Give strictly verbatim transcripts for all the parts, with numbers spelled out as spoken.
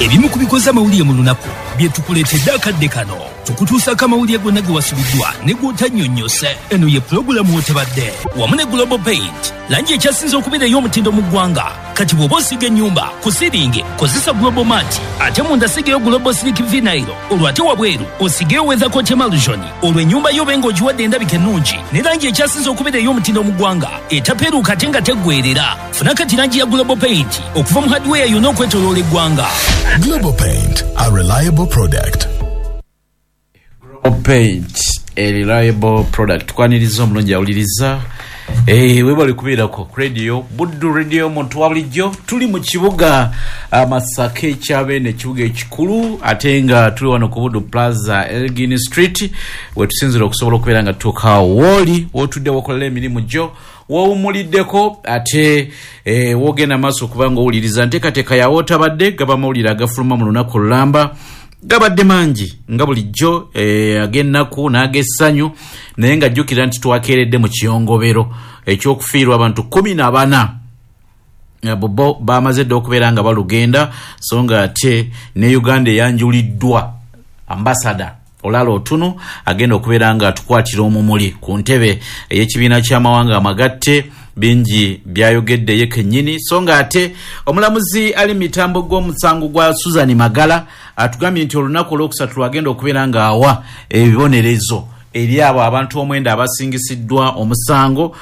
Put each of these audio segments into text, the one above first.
Ebimu ku bikoze amawulire mu lunaku bye tukuleetedde akadde kano. Tukutuusaako amawulire gonna ge wasubiddwa ne gw'otannyonnyose. Eno ye pulogulaamu w'otebadde wamu ne Global Paint, langi ekyasinze okubeera ey'omutindo mu ggwanga. Kati bw'oba osiiga ennyumba ku siringi kozesa Global Mat, ate munda sigayo Global Silk Vinyl, olwo ate wabweru osigeyo Weathercoat Emulsion, olwo ennyumba yo obe ng'ogiwadde endabika ennungi ne langi ekyasinze okubeera ey'omutindo mu ggwanga etapeeruuka ate nga teggweerera. Funa kati langi ya Global Paint okuva mu hardware yonna okwetooloola eggwanga. Global Paint, a reliable product. Global Paint, a reliable product. Kwaniriza omulungi awuliriza. Eh, webale kubeerako ku radio Buddu, radio omuntu wa bulijjo. Tuli mu kibuga Masaka ekyabeene, ekibuga ekikulu, ate nga tuli wano ku Buddu Plaza, Elgin Street, wetusinzira okusobola okubeera nga tutuuka wooli wotudde wokolera emirimu gyo, wowumuliddeko, ate eh, wogenda maaso okuba nga owuliriza nteekateeka yawe otabadde. Gaba mawulire agafuluma mu lunaku olulamba, gabadde mangi nga bulijjo, eh, ag'ennaku n'ag'essanyu, naye nga jjukira nti twakeeredde mu kiyongobero ekyokufiirwa abantu kumi na bana. Bo bamaze dda okubeera nga balugenda, so nga ate ne Uganda eyanjuliddwa ambasada Olara Otunu agenda okubeera nga atukwatira omumuli ku ntebe ey'ekibiina ky'amawanga amagatte. Bingi byayogedde ye kennyini. So nga ate omulamuzi ali mitambo gw'omusango gwa Susan Magala atugambye nti olunaku olwokusatu lwagenda okubeera nga awa ebibonerezo eri abo abantu omwenda abasingisiddwa omusango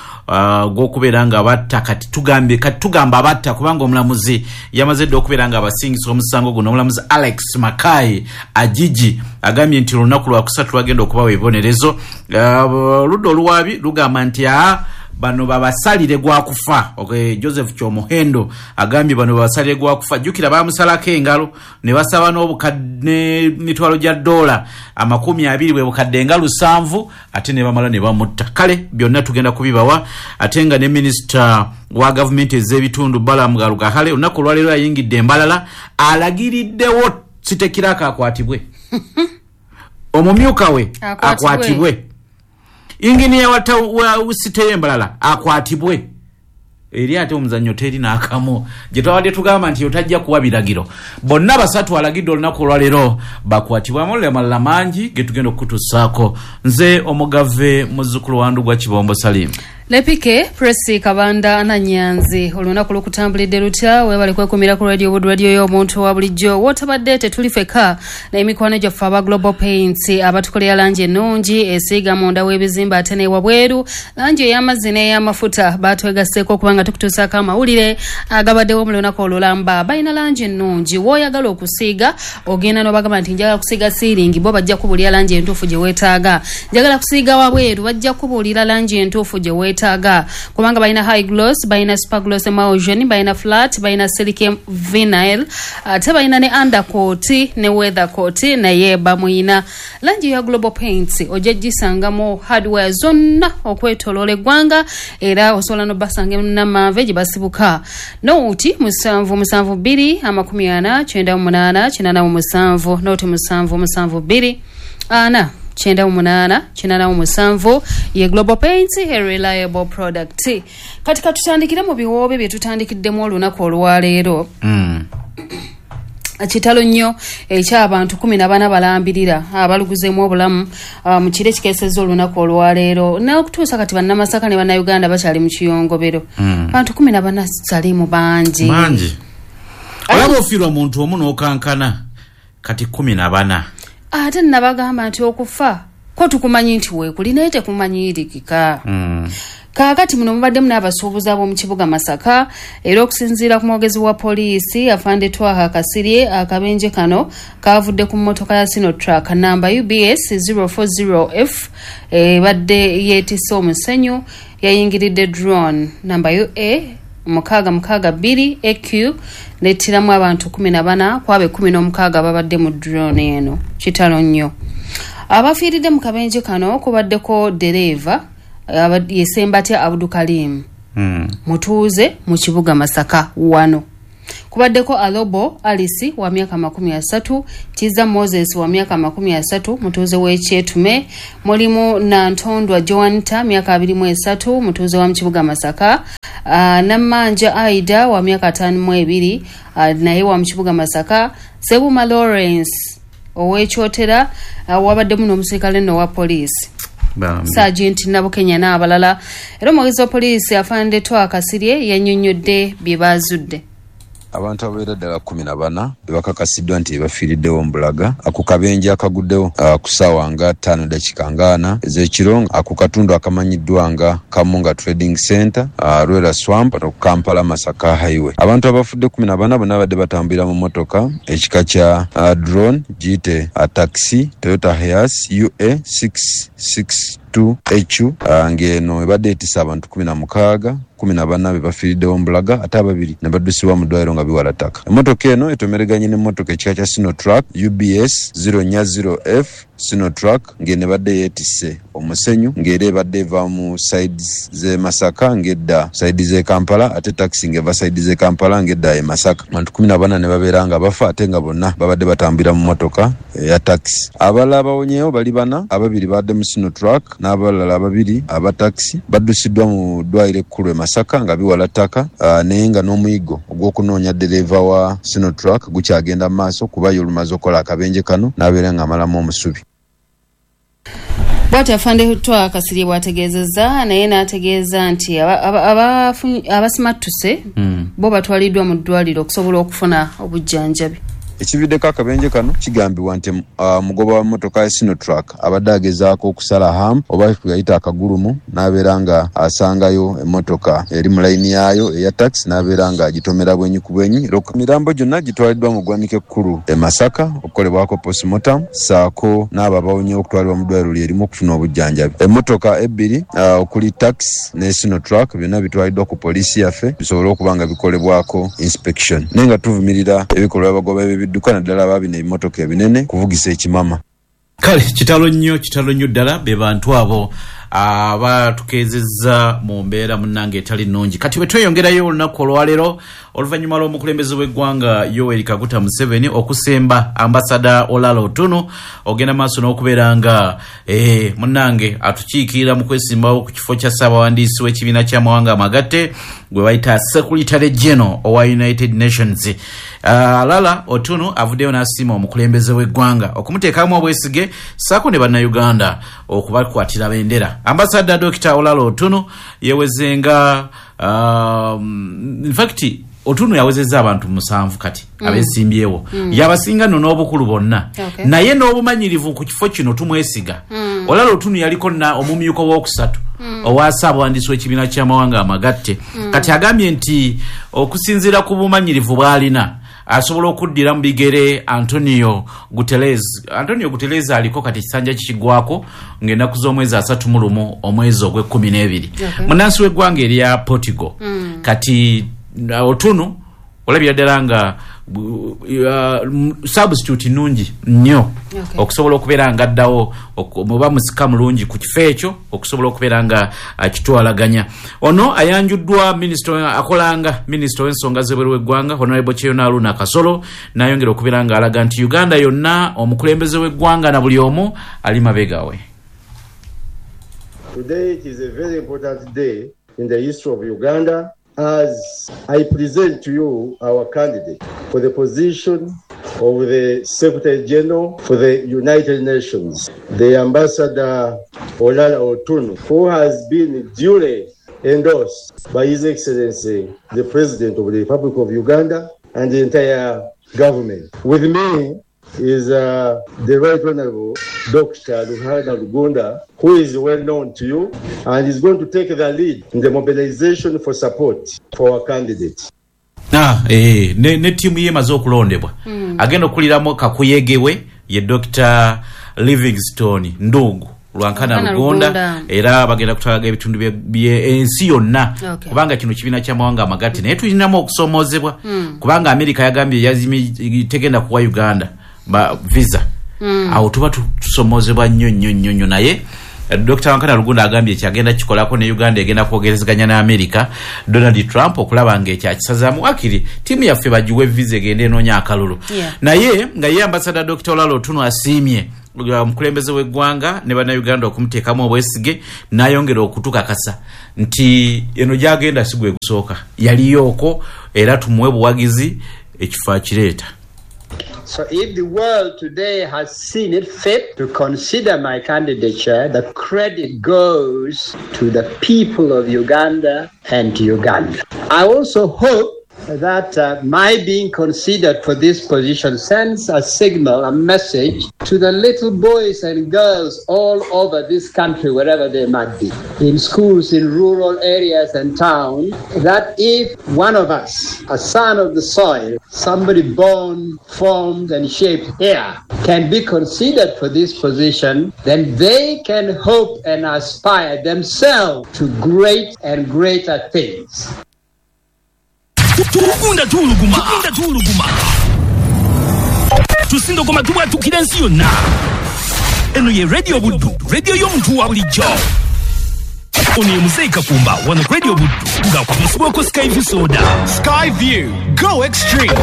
gw'okubeera nga batta. Kati tugambye, kati tugamba abatta kubanga omulamuzi yamaze dda okubeera nga abasingisa omusango guno. Omulamuzi Alex Makai Ajiji agambye nti olunaku lwakusatu lwagenda okubawa ebibonerezo. Oludda oluwaabi lugamba nti aa bano babasalire gwa kufa. Okay, Joseph Kyomuhendo agambye bano babasalire gwa kufa. Jjukira bamusalako engalo ne basaba n'obukadde mitwalo gya dola amakumi abiri bwe bukadde nga lusanvu, ate ne bamala ne bamutta. Kale byonna tugenda kubibawa. Ate nga ne minisita wa gavumenti ez'ebitundu Balaam Barugahare olunaku olwaleero ayingidde embalala, alagiriddewo Sitekiraka akwatibwe, omumyuka we akwatibwe, inginiya wa site embalala akwatibwe. Eri ate omuzannyo teri n'akamu gye twabadde tugamba nti otajja kuwa biragiro. Bonna basatu alagidde olunaku olwaleero bakwatibwa. Amawulire amalala mangi ge tugenda okukutuusaako. Nze omugave muzzukulu wa Ndugwa Kibombo Salim. Lepike Presi Kabanda Nanyanzi, olunaku lukutambulidde lutya? Webale kwekumira ku radio Buddu, radio y'omuntu wa bulijjo. Wotabadde tetuli fekka n'emikwano gyaffe aba Global Paints abatukolera langi ennungi esiiga munda w'ebizimbe ate n'ewabweru, langi ey'amazzi n'ey'amafuta. Batwegasseeko okubanga tukutuusaako amawulire agabaddewo mu lunaku olulamba. Balina langi ennungi, w'oyagala okusiiga ogenda n'obagamba nti njagala kusiiga siiringi, bo bajja kubuulira langi entuufu gye weetaaga. Njagala kusiiga wabweru, bajja kubuulira langi entuufu gye weetaaga, kubanga balina high gloss, balina super gloss emulsion, balina flat, balina silk vinyl, ate balina ne undercoat ne weathercoat, naye bamuyina langi ya Global Paints ojja gisangamu hardware zonna okwetoloola eggwanga, era osobola n'obasanga Namanve gye basibuka. Nooti musanvu musanvu bbiri amakumi ana kyenda mu munaana kinaana mu musanvu, nooti musanvu musanvu bbiri ana kyenda mu munaana kinaana mu musanvu. Ye Global Paints, a reliable product. Kati katutandikire mu biwoobe bye tutandikiddemu olunaku olwaleero. Mm. Kitalo nnyo eky'abantu kumi na bana balambirira abaluguzeemu obulamu mu kiro ekikeesezza olunaku olwaleero. N'okutuusa kati bannamasaka ne bannayuganda bakyali mu kiyongobero. Bantu kumi na bana salimu bangi. Bangi. Olaba ofiirwa muntu omu n'okankana, kati kumi na bana. Ate nabagamba nti okufa ko tukumanyi nti weekuli naye tekumanyirikika. Mm. Kaakati muno mubaddemu n'abasuubuzi ab'omu kibuga Masaka, era okusinziira ku mwogezi wa poliisi Afande Twaha Kasirye, akabenje kano kavudde ku mmotoka ya Sinotruck namba U B S zero four zero F ebadde yeetisse omusenyu, yayingiridde drone namba U A mukaaga mukaaga bbiri A Q nettiramu abantu kumi na bana, kwabo ekkumi n'omukaaga babadde mu drone eno. Kitalo nnyo. Abafiiridde mu kabenje kano kubaddeko ddereeva Yesembatya Abdukalim mm. mutuuze mu kibuga Masaka wano. Kubaddeko Alobo Alice wa myaka makumi asatu, Kiza Moses wa myaka makumi asatu mutuuze w'Ekyetume, mulimu Nantondwa Joanta myaka abiri mu esatu mutuuze wa mu kibuga Masaka, Uh, Nammanja Aida wa myaka ataano mu ebiri, uh, naye wa mu kibuga Masaka. Sebuma Lawrence ow'Ekyotera, uh, wabaddemu n'omusirikale nno owa poliisi Sergeant Nabukenya n'abalala. Era omwogezi wa poliisi Afande Twa Kasirye yannyonnyodde bye baazudde. Abantu ababeera ddala kkumi na bana bebakakasiddwa nti bafiiriddewo mu Bulaga ako kabenje akaguddewo ku ssaawa nga ttaano dakiika nga ana ez'ekiro ako katundu akamanyiddwa nga Kamunga Trading Center, Lwera Swamp, ku Kampala Masaka Highway. Abantu abafudde kkumi na bana bonna babadde batambulira mu mmotoka ekika kya drone giyite taxi Toyota Hiace U A six six two H U, ng'eno ebadde etisse abantu kkumi na mukaaga, kkumi na bana be bafiiriddewo mu Bulaga ate ababiri ne baddusibwa mu ddwaliro nga biwala ttaka. Emmotoka eno etomereganye n'emmotoka ekika kya Sinotruck U B S zero nnya zero F Sinotruck ng'eno ebadde yeetisse omusenyu ng'era ebadde eva mu sides z'e Masaka ng'edda side z'e Kampala, ate taxi ng'eva side z'e Kampala ng'edda e Masaka. Abantu kkumi na bana ne babeera nga bafa ate nga bonna babadde batambulira mu mmotoka eya taxi. Abalala abawonyeewo bali bana, ababiri badde mu Sinotruck n'abalala ababiri aba taxi baddusiddwa mu ddwaliro ekkulu e Masaka nga biwala ttaka, naye nga n'omuyiggo ogw'okunoonya ddereeva wa Sinotruck gukyagenda mu maaso kuba ye olumaze okukola akabenje kano n'abeera ng'amalamu omusubi. Bw'atyo Afande Twa Kasirye bw'ategeezezza, naye n'ategeeza nti abasimattuse bo batwaliddwa mu ddwaliro okusobola okufuna obujjanjabi. Ekividdeko akabenje kano kigambibwa nti omugoba wa mmotoka ya Sinotruck abadde agezaako okusala hamu oba kuyita akagulumu n'abeera nga asangayo emmotoka eri mu layini yaayo eya taxi n'abeera nga agitomera bwenyi ku bwenyi. Emirambo gyonna gitwaliddwa mu ggwanika ekkulu e Masaka okukolebwako postmortem ssaako n'abo abawonyeewo okutwalibwa mu ddwaliro lyerimu okufuna obujjanjabi. Emmotoka ebbiri okuli taxi ne Sinotruck byonna bitwaliddwa ku poliisi yaffe bisobole okuba nga bikolebwako inspection, naye nga tuvumirira ebikolwa abagoba b'ebidduka naddala ababina ebimotoka ebinene kuvugisa ekimama. Kale kitalo nnyo, kitalo nnyo ddala be bantu abo abatukeezezza mu mbeera munnange etali nnungi. Kati bwe tweyongerayo olunaku olwaleero oluvannyuma lw'omukulembeze w'eggwanga Yoweri Kaguta Museveni okusemba ambasada Olala Otunnu ogenda maaso n'okubeera nga eh, munnange atukiikirira mu kwesimbawo ku kifo kya ssaabawandiisi w'ekibiina ky'amawanga amagatte gwe bayita Secretary General owa United Nations. Olala uh, Otunnu avuddeyo n'asiima omukulembeze w'eggwanga okumuteekamu obwesige ssaako ne bannayuganda okubakwatira bendera. Ambassador Doctor Olala Otunnu yewezenga, um, in fact Otunnu yawezezza abantu musanvu kati mm. abesimbyewo mm. yabasinga nno n'obukulu bonna, okay. Naye n'obumanyirivu ku kifo kino tumwesiga. mm. Olala Otunnu yaliko na omumyuka w'okusatu mm. owa ssaabawandiisi w'ekibiina ky'amawanga amagatte. mm. Kati agambye nti okusinziira ku bumanyirivu bw'alina asobola okuddira mu bigere Antonio Guterres. Antonio Guterres aliko kati ekisanja kikigwako ng'ennaku z'omwezi asatu mu lumu omwezi ogw'ekkumi n'ebiri. Okay. Munnansi w'eggwanga erya Portugal. mm. Kati Otunnu olabira ddala nga uh, substitute nnungi nnyo, okay. Okusobola okubeera nga addawo oba musika mulungi ku kifo ekyo okusobola okubeera nga akitwalaganya. Ono ayanjuddwa minisita akolanga minisita w'ensonga z'ebweru w'eggwanga Honorable Kyeyune Haruna Kasolo n'ayongera okubeera nga alaga nti Uganda yonna omukulembeze w'eggwanga na buli omu ali mabega we. Today it is a very important day in the history of Uganda as I present to you our candidate for the position of the Secretary General for the United Nations, the Ambassador Olala Otunnu, who has been duly endorsed by His Excellency, the President of the Republic of Uganda and the entire government. With me is uh, the Right Honorable Doctor Ruhana Rugunda, who is well known to you and is going to take the lead in the mobilization for support for our candidate. Ah, eh, ne, ne tiimu ye emaze okulondebwa. mm. Agenda okuliramu kakuyegewe ye Doctor Livingstone Ndungu Lwankana Rugunda, era bagenda kutwalaga ebitundu by'ensi yonna, okay. Kubanga kino kibiina ky'amawanga amagatte naye tulinamu okusomoozebwa. mm. Kubanga Amerika yagambye yazimi tegenda kuwa Uganda ba visa. mm. Awo tuba tusomozebwa nnyo nnyo nnyo nnyo, naye Doctor Wankana Rugunda agambye kyagenda kikolako ne Uganda egenda kwogerezeganya ne America Donald Trump okulaba ng'ekyakisazaamu akiri ttiimu yaffe bagiwe visa egende enoonya akalulu. Yeah. Naye nga ye ambassador Doctor Olalo Otunnu asiimye omukulembeze w'eggwanga ne bannayuganda okumuteekamu obwesige n'ayongera okutukakasa nti eno gy'agenda si gwe gusooka, yaliyooko era tumuwe buwagizi ekifo akireeta. So if the world today has seen it fit to consider my candidature, the credit goes to the people of Uganda and to Uganda. I also hope that uh, my being considered for this position sends a signal, a message to the little boys and girls all over this country, wherever they might be, in schools, in rural areas and towns, that if one of us, a son of the soil, somebody born, formed and shaped here, can be considered for this position, then they can hope and aspire themselves to great and greater things. Tugunda tuuluguma, tugunda tuuluguma, tusindogoma tubwatukira ensi yonna. Eno ye Radio Buddu, radio y'omuntu wa bulijjo. Ono ye Muzeeyi Kakumba wano ku Radio Buddu ng'akutuusibwako Sky View Soda. Sky View, go extreme.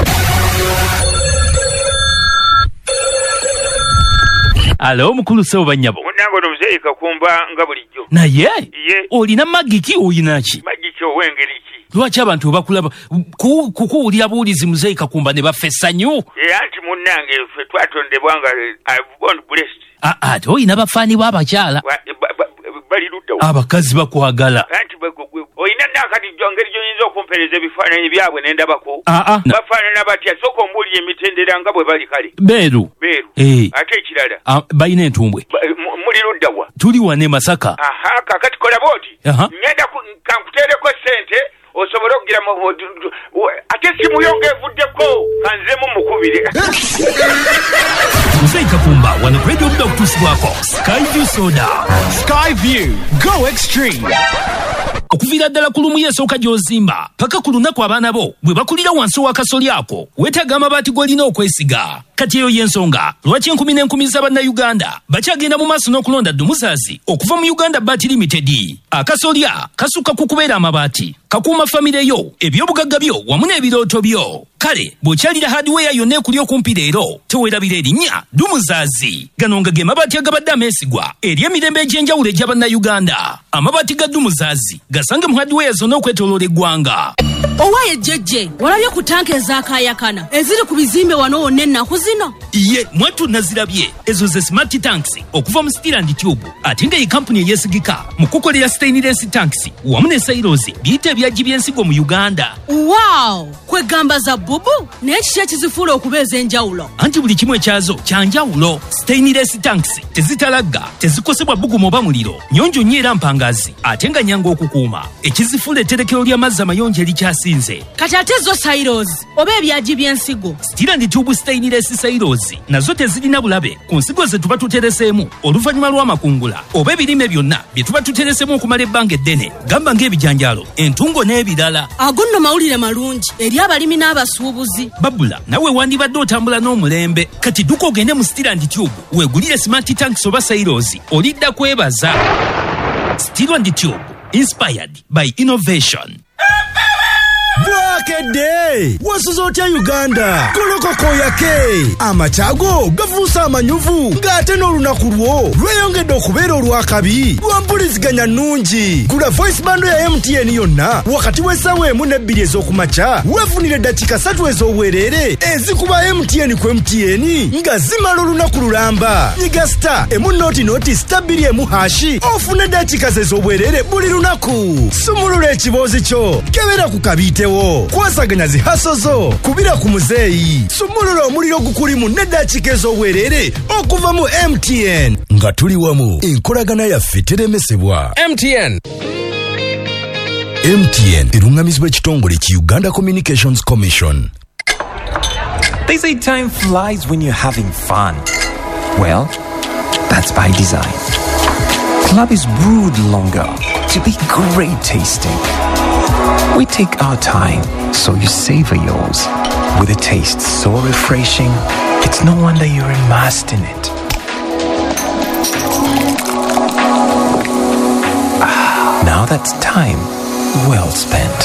Alo mukulu ssebo bannyabo. Munnange ono Muzeeyi Kakumba nga bulijjo. Naye olina magiki oyina ki? Magiki ow'engeri ki? Lwaki abantu bakulaba kukuwulira buwulizi Muzeeyi Kakumba ne bafa essanyu? Anti munnange ffe twatondebwa nga I've born blessed. Ate olina bafaani b'abakyala bali ludda abakazi bakwagala. Anti olina nakati ngeri gy'oyinza okumpeereza ebifaananyi byabwe ne ndabako. Bafaanana batya? Sooka ombuulire emitendera nga bwe bali kale. Beeru. Beeru. Ate ekirala balina entumbwe. Muli ludda wa? Tuli wano e Masaka. Aha, kaakati kola bw'oti. Ngenda kankuteereko ssente osobole okugira ate essimu yo ng'evuddeko kanzemu mukubire. Muzeeyi Kakumba wano ku Radio Buddu okutuusibwako Sky View Soda. Sky View, go extreme. Okuviira ddala ku lumu esooka gy'ozimba paka ku lunaku abaana bo bwe bakulira wansi w'akasoli ako weetaaga amabaati g'olina okwesiga. Kati eyo y'ensonga lwaki enkumi n'enkumi z'abannayuganda bakyagenda mu maaso n'okulonda Ddumuzaazi okuva mu Uganda Baati Limited. Akasolya kasukka ku kubeera amabaati, kakuuma famire yo, ebyobugagga byo wamu n'ebirooto byo. Kale bw'okyalira hardware yonna ekuli okumpi leero teweerabira erinnya Ddumuzaazi. Gano nga ge mabaati agabadde ameesigwa eri emirembe egy'enjawulo egy'abannayuganda. Amabaati ga Ddumuzaazi gasange mu hardware zonna okwetooloola eggwanga. Owaye jjejje, walabye ku tanka ezaakaayakana eziri ku bizimbe wano wonna ennaku zino? Ye mwattu nazirabye. Ezo ze smart tanks okuva mu Steel and Tube, ate nga ye kampuni eyeesigika mu kukolera stainless tanks wamu ne silos biyite ebyagi by'ensigo mu Uganda. Wow! Kwegamba za bubu naye kiki ekizifuula okuba ez'enjawulo? Anti buli kimu ekyazo kya njawulo. Stainless tanks tezitalagga, tezikosebwa bbugumu oba muliro, nnyonjo nnyo era mpangazi, ate nga nnyangu okukuuma. Ekizifuula etterekero ly'amazzi amayonjo erikyasinze. Kati ate zo silos oba ebyagi by'ensigo? Steel and Tube stainless silos nazo tezirina bulabe ku nsigo ze tuba tutereseemu oluvannyuma lw'amakungula oba ebirime byonna bye tuba tutereseemu okumala ebbanga eddene, gamba ng'ebijanjaalo, entungo n'ebirala. Ago nno mawulire malungi eri abalimi n'abasuubuzi. Babula nawe wandibadde otambula n'omulembe. Kati dduka ogende mu Steel and Tube weegulire smart tanks oba silos, olidda kwebaza. Steel and Tube, inspired by innovation. Bwakedde wasuze otya Uganda? Kolokoko yake amakyago gafuuse amanyuvu ng'ate n'olunaku lwo lweyongedde okubeera olw'akabi lwa mpuliziganya nnungi. Gula voice bando ya M T N yonna wakati w'essaawa emu n'ebbiri ez'okumakya weefunire eddakiika ssatu ez'obwereere ezikuba M T N ku M T N nga zimala olunaku lulamba. Nyiga star emu noti noti star bbiri emu hashi ofune eddakiika ze ez'obwereere buli lunaku. Sumulula ekiboozi kyo, kebera ku kabiitewo, kwasaganya zihaso zo, kubira ku muzeeyi, sumulula omuliro gukulimu n'eddakiika ez'obwereere okuva mu M T N. Nga tuli wamu, enkolagana yaffe teremesebwa. M T N. M T N erungamizibwa ekitongole ki Uganda Communications Commission. They say time flies when you're having fun. Well, that's by design. Club is brewed longer to be great tasting. We take our time so you savor yours. With a taste so refreshing, it's no wonder you're immersed in it. Now that's time well spent.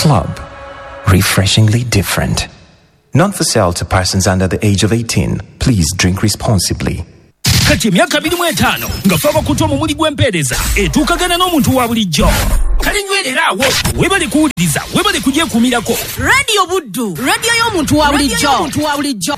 Club. Refreshingly different. Not for sale to persons under the age of eighteen. Please drink responsibly. Kati emyaka abiri mu etaano nga fe abakutu omumuli gw'empeereza etuukagana n'omuntu wa bulijjo. Kale nywerera awo, weebale kuwuliriza, weebale kugyekuumirako. Radio Buddu, radio y'omuntu wa bulijjo. Omuntu wa bulijjo.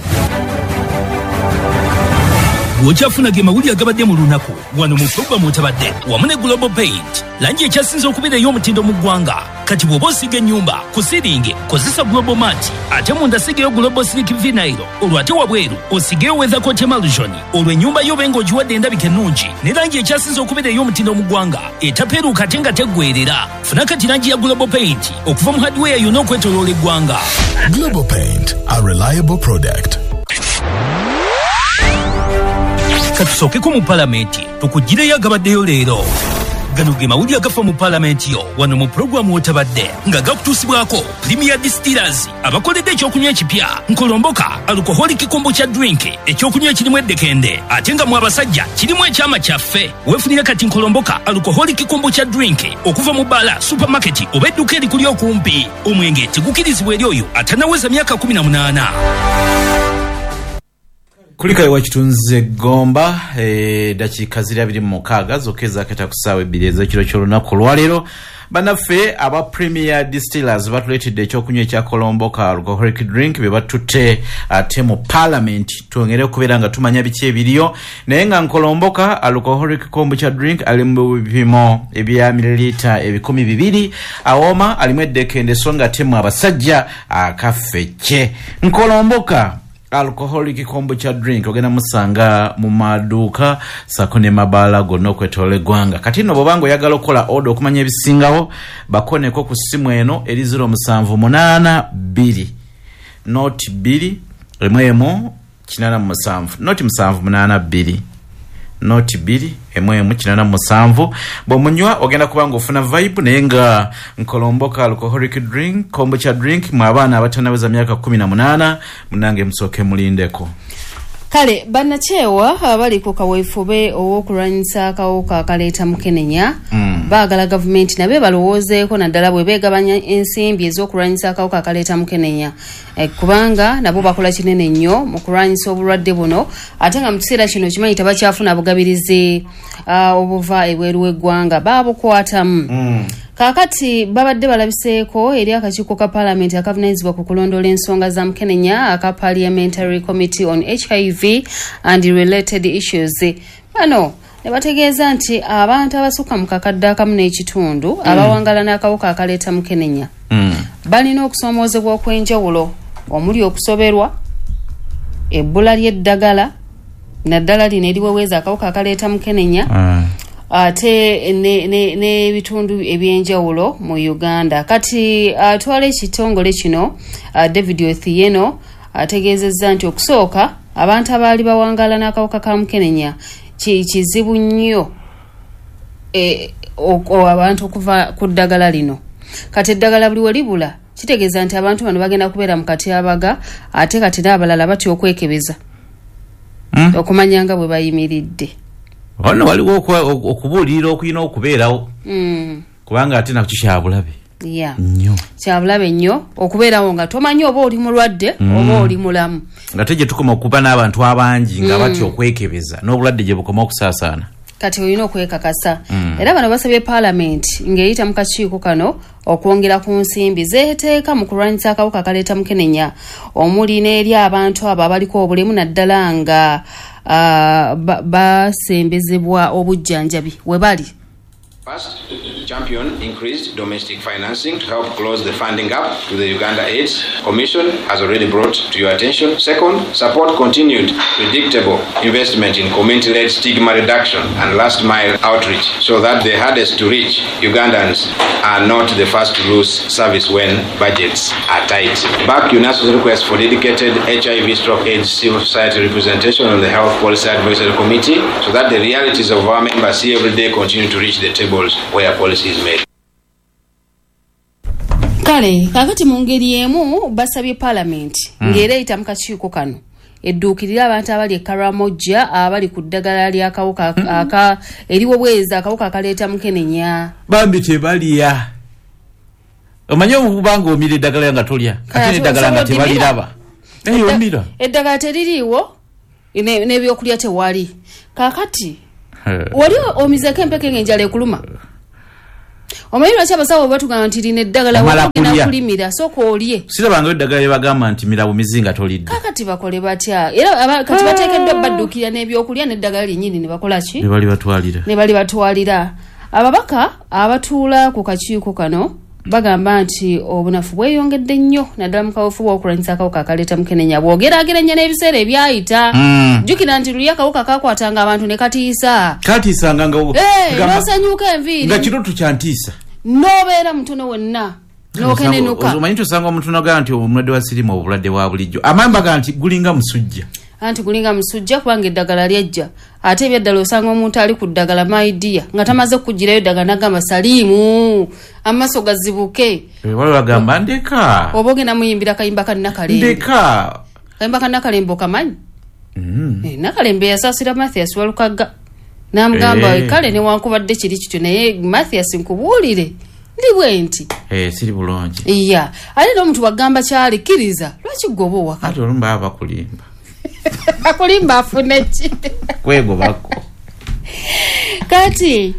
Bw'okyafuna ge mawulire agabadde mu lunaku wano mu pulogulaamu Otabadde wamu ne Global Paint, langi ekyasinze okubeera ey'omutindo mu ggwanga. Kati bw'oba osiiga ennyumba ku siringi kozesa Global Mat, ate munda sigeyo Global Silk Vinyl, olwo ate wabweru osigeyo Weathercoat Emulsion, olwo ennyumba yo obe ng'ogiwadde endabika ennungi ne langi ekyasinze okubeera ey'omutindo mu ggwanga etapeeruuka ate nga teggweerera. Funa kati langi ya Global Paint okuva mu hardware yonna okwetooloola eggwanga. Global Paint, a reliable product. Katusookeko mu palamenti tukugireyo agabaddeyo leero. Gano ge mawulire agafa mu palamenti yo wano mu pulogulaamu Otabadde nga gakutuusibwako Premier Distillers abakoledde ekyokunywa ekipya Nkolomboka alcoholic kombucha drink, ekyokunywa ekirimu eddekende ate nga mu abasajja kirimu ekyama kyaffe. Weefunire kati Nkolomboka alcoholic kombucha drink okuva mu bbaala, supermarket oba edduuka erikuli okumpi. Omwenge tegukirizibwa eri oyo atannaweza myaka kumi na munaana. Kulika wa kitunze Gomba, e, dakiika ziri abiri mu mukaaga zokka ezaaketa ku ssaawa ebbiri ez'ekiro ky'olunaku olwaleero. Bannaffe aba Premier Distillers batuleetedde ekyokunywa ekya Kolomboka alcoholic drink bye batutte ate mu parliament twongere okubeera nga tumanya biki ebiriyo, naye nga Nkolomboka alcoholic kombucha drink ali mu bipimo ebya mililita ebikumi bibiri, awooma, alimu eddekende so nga ate mu abasajja akafecce. Nkolomboka alcoholic kombucha drink ogenda musanga mu maduuka sako ne mabaala gonna okwetoola eggwanga. Kati nno bw'obanga oyagala okukola order okumanya ebisingawo, bakoneko ku ssimu eno eri zero musanvu munaana bbiri noti bbiri emu emu kinaana mu musanvu noti musanvu munaana bbiri noti bbiri emu emu kinaana mu musanvu. Bw'omunywa ogenda kuba ng'ofuna vibe, naye nga Nkolomboka alcoholic drink kombucha drink mu abaana abatannaweza myaka kumi na munaana, munange musooke mulindeko. Kale bannakyewa abali ku kaweefube ow'okulwanyisa akawuka akaleeta mukenenya Mm. baagala gavumenti nabo balowoozeeko, naddala bwe beegabanya ensimbi ez'okulwanyisa akawuka akaleeta mukenenya, e, kubanga nabo bakola kinene nnyo mu kulwanyisa obulwadde buno, ate nga mu kiseera kino kimanyi tebakyafuna bugabirizi uh, obuva ebweru w'eggwanga, baabukwatamu. Mm. Kaakati babadde balabiseeko eri akakiiko ka paalamenti akavunaanyizibwa ku kulondoola ensonga za mukenenya aka Parliamentary Committee on H I V and Related Issues. Bano ne bategeeza nti abantu abasukka mu kakadde akamu n'ekitundu mm. abawangala n'akawuka akaleeta mukenenya Mm. balina okusoomoozebwa okw'enjawulo omuli okusoberwa, ebbula ly'eddagala naddala lino eriweweeza akawuka akaleeta mukenenya, Mm. ate n'ebitundu ebyenjawulo mu Uganda. Kati atwala ekitongole kino uh, David Othieno ategeezezza nti okusooka abantu abaali bawangaala n'akawuka ka mukenenya ki- kizibu nnyo e, o- abantu okuva ku ddagala lino. Kati eddagala buli we libula kitegeeza nti abantu bano bagenda kubeera mu katyabaga, ate kati n'abalala batya okwekebeza Mm. okumanya nga bwe bayimiridde. Wano waliwo okwa- okubuulirira okulina okubeerawo mm. kubanga ate nakyo kyabulabe yeah. nnyo. Kyabulabe nnyo okubeerawo nga tomanyi oba oli mulwadde Mm. oba oli mulamu. Nga te gye tukoma okuba n'abantu abangi nga Mm. batya okwekebeza, n'obulwadde gye bukoma okusaasaana. Kati olina okwekakasa. Mm. Era bano basabye paalamenti ng'eyita mu kakiiko kano okwongera ku nsimbi zeeteeka mu kulwanyisa akawuka akaleeta mukenenya, omuli n'eri abantu abo abaliko obulemu, naddala nga uh, basembezebwa obujjanjabi we bali. First, champion increased domestic financing to help close the funding gap to the Uganda AIDS Commission has already brought to your attention. Second, support continued predictable investment in community-led stigma reduction and last mile outreach so that the hardest to reach Ugandans are not the first to lose service when budgets are tight. Back UNASO's request for dedicated H I V stroke AIDS civil society representation on the Health Policy Advisory Committee so that the realities of our members see every day continue to reach the tables where policy is made. Kale kakati mu ngeri emu basabye paalamenti Mm. ng'era eyita mu kakiiko kano edduukirira abantu abali e Karamojja abali ku ddagala ly'akawuka aka eriwo bwezi akawuka akaleeta mukenenya. Bambi tebalya. Omanyi okubanga omira eddagala nga tolya, ate n'eddagala nga tebaliraba. Eyo omira. Eddagala teririiwo n'ebyokulya tewali. Kaakati wali omizeeko empeke ng'enjala ekuluma. Omanyi lwaki abasawo batugamba nti lino eddagala wagenda kulimira, sooka olye. Sirabangayo eddagala lye bagamba nti mira bumizi nga tolidde. Kaakati bakole batya? Era kati bateekeddwa badduukirira n'ebyokulya n'eddagala lyennyini ne bakola ki? Ne balibatwalira. Ne balibatwalira. Ababaka abatuula ku kakiiko kano bagamba nti obunafu bweyongedde nnyo naddala mu kaweefube w'okulwanyisa akawuka akaleeta mukenenya bw'ogeraageranya n'ebiseera ebyayita. Jjukira nti luli akawuka kakwatanga abantu ne katiisa. Katiisanga nga n'osanyuka enviiri. Nga kiroto kyantiisa. N'obeera mutono wenna n'okenenuka. Omanyi tosanga omuntu n'agamba nti omulwadde wa siriimu obulwadde bwa bulijjo. Amaanyi bagamba nti gulinga musujja. Anti gulinga musujja kubanga eddagala lyajja. Ate ebyaddala osanga omuntu ali ku ddagala my dear nga tamaze kugirayo eddagala n'agamba saliimu amaaso gazibuke. Waliwo bagamba ndeka. Oba ogenda muyimbira kayimba ka Nakalembe. Ndeka. Kayimba ka Nakalembe okamanyi? Mm. Nakalembe yasaasira Mathias Walukagga n'amugamba kale newankubadde kiri kityo naye Mathias nkubuulire ndi bwe nti. Eh, siri bulungi. Iya. Ate n'omuntu wagamba kyali kkiriza lwaki gwe oba owaka? Ate olumu baba bakulimba. Akulimba afune ki? Kwegobako. Kati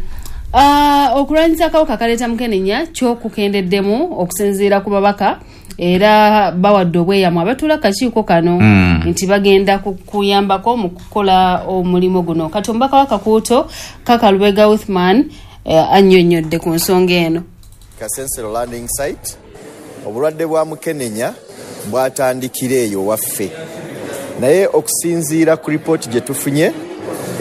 uh, okulwanyisa akawuka akaleeta mukenenya kyokukendeddemu okusinziira ku babaka era bawadde obweyamo abatuula akakiiko kano mm. nti bagenda kuyambako mu kukola omulimu guno. Kati omubaka wa Kakuuto Kaka Lubega Uthman eh, annyonnyodde ku nsonga eno. Kasensero landing site obulwadde bwa mukenenya bwatandikira eyo waffe. Naye okusinziira ku ripooti gye tufunye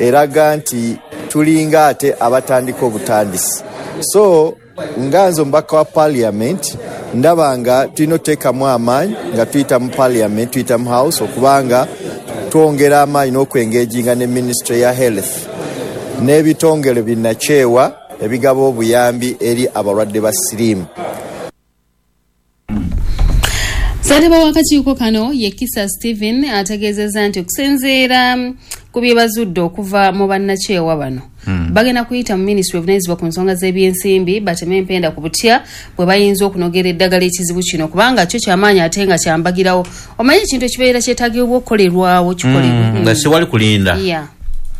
eraga nti tulinga ate abatandika obutandisi. So nga nze omubaka wa parliament ndaba nga tulina oteekamu amaanyi nga tuyita mu parliament, tuyita mu house okubanga twongera amaanyi n'okwengeginga ne ministry ya health n'ebitongole binnakyewa ebigaba obuyambi eri abalwadde ba siriimu. Ssentebe w'akakiiko kano ye Kisa Steven ategeezezza nti okusinziira ku bye bazudde okuva mu bannakyewa bano hmm. bagenda kuyita mu minisitule evunaanyizibwa ku nsonga z'ebyensimbi bateme empenda ku butya bwe bayinza okunogera eddagala ekizibu kino kubanga kyo kyamaanyi ate nga kyambagirawo. Omanyi ekintu ekibeera kyetaagibwa okukolerwawo kikolebwe mm, nga siwali kulinda. Yeah.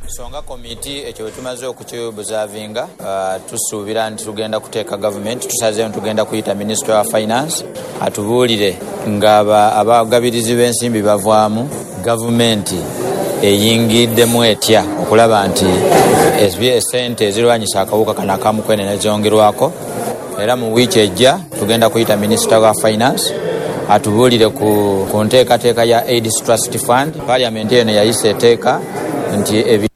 Songa komiti ekyo bwe tumaze okukibuzavinga uh, tusuubira nti tugenda kuteeka gavumenti, tusazeeyo tugenda kuyita Ministry wa Finance atubuulire nga abagabirizi b'ensimbi bavaamu, gavumenti eyingiddemu etya okulaba nti esente ezirwanyisa akawuka kano akamukenenya zongerwako. Era mu wiiki ejja tugenda kuyita Minister wa Finance atubuulire ku, ku nteekateeka ya AIDS Trust Fund. Parliament eno yayisa etteeka nti ebi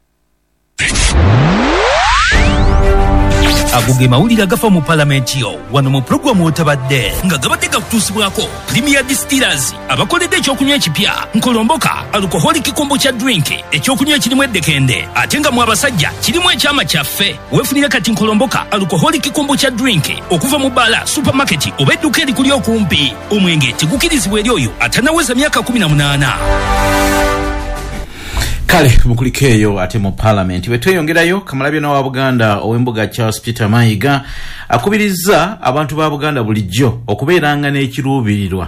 Ago ge mawulire agafa mu palamenti yo wano mu pulogulaamu otabadde nga gabadde gakutuusibwako Premier Distillers abakoledde ekyokunywa ekipya Nkolomboka alcoholic kombucha drink ekyokunywa ekirimu eddekende ate nga mu abasajja kirimu ekyama kyaffe. Weefunire kati Nkolomboka alcoholic kombucha drink okuva mu bbaala, supermarket oba edduuka erikuli okumpi. Omwenge tegukirizibwa eri oyo atannaweza myaka kumi na munaana. Kale mukuliko eyo ate mu parliament bwe tweyongerayo, Kamalabyonna wa Buganda ow'embuga Charles Peter Mayiga akubirizza abantu ba Buganda bulijjo okubeeranga n'ekiruubirirwa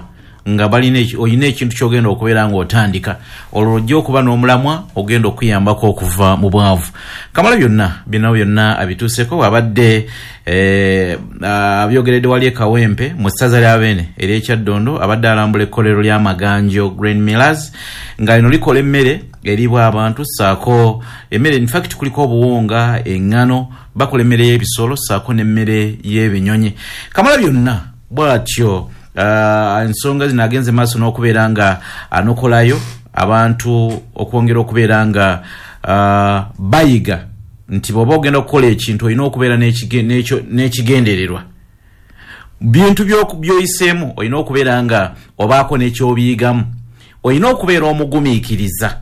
nga balina olina ekintu ky'ogenda okubeera ng'otandika olwo ojja okuba n'omulamwa ogenda okuyambako okuva mu bwavu. Kamalabyonna bino byonna abituuseko abadde eh, abyogeredde wali e Kawempe mu ssaza lya Beene ery'Ekyaddondo abadde alambula ekkolero ly'Amaganjo Grain Millers nga lino likola emmere eriibwa abantu ssaako emmere, in fact kuliko obuwunga, eŋŋano, bakola emmere y'ebisolo ssaako n'emmere y'ebinyonyi. Kamalabyonna bw'atyo ensonga zino agenze maaso n'okubeera nga anokolayo abantu okwongera okubeera nga bayiga nti bw'oba ogenda okukola ekintu olina okubeera n'ekigendererwa. Bintu by'oyiseemu olina okubeera nga obaako n'ekyobiyigamu, olina okubeera omugumiikiriza,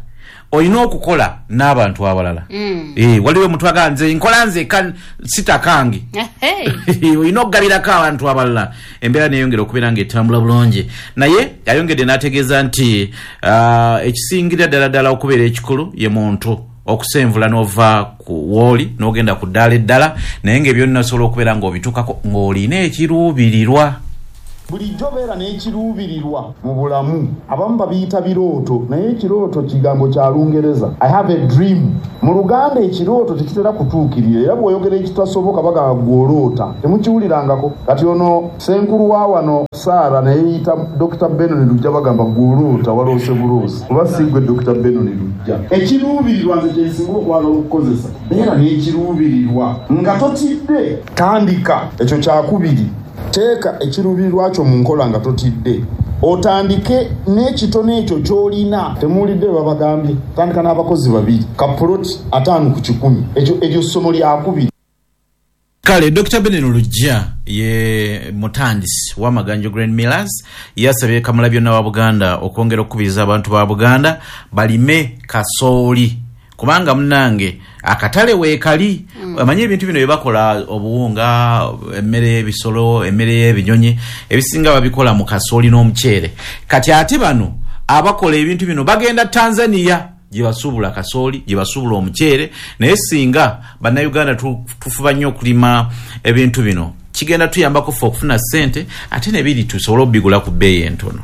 Olina okukola n'abantu abalala. Mm. Eh, waliwo omuntu agamba nze nkola nze kan sitakange. Hey. Olina okugabirako abantu abalala, embeera neyongera okubeera ng'etambula bulungi. Naye ayongedde n'ategeeza nti ah, ekisingira ddala ddala okubeera ekikulu ye muntu okusenvula n'ova ku wooli n'ogenda ku ddaala eddala, naye ng'ebyonna osobola okubeera ng'obituukako ng'olina ekiruubirirwa. Bulijjo beera n'ekiruubirirwa mu bulamu. Abamu babiyita birooto, naye ekirooto kigambo kya Lungereza. I have a dream. Mu Luganda ekirooto tekitera kutuukirira, era bw'oyogera ekitasoboka bagamba gw'oloota. Temukiwulirangako. Kati ono ssenkulu wa wano Saara naye yeyita Dokita Benon Lujja, bagamba gw'oloota waloose buloosi. Oba si ggwe Dokita Benon Lujja. Ekiruubirirwa nze kye nsinga okwagala okukozesa. Beera n'ekiruubirirwa nga totidde. Tandika. Ekyo kyakubiri. Teeka ekiruubirirwa kyo mu nkola nga totidde. Otandike n'ekitono ekyo ky'olina. Temuwulidde bwe babagambye. Tandika n'abakozi babiri. Ka puloti ataano ku kikumi. Ekyo eryo ssomo lyakubiri. Kale Dokita Benon Lujja ye mutandisi w'Amaganjo Grain Millers yasabye Kamalabyonna wa Buganda okwongera okukubiriza abantu ba Buganda balime kasooli, kubanga munnange akatale weekali. Mm. Amanyi ebintu bino bye bakola, obuwunga, emmere y'ebisolo, emmere y'ebinyonyi, ebisinga babikola mu kasooli n'omuceere. Kati ate bano abakola ebintu bino bagenda Tanzania gye basuubula kasooli, gye basuubula omuceere. Naye singa bannayuganda tu- tufuba nnyo okulima ebintu bino, kigenda tuyambako ffe okufuna ssente, ate nebiri tusobole okubigula ku bbeeyi entono.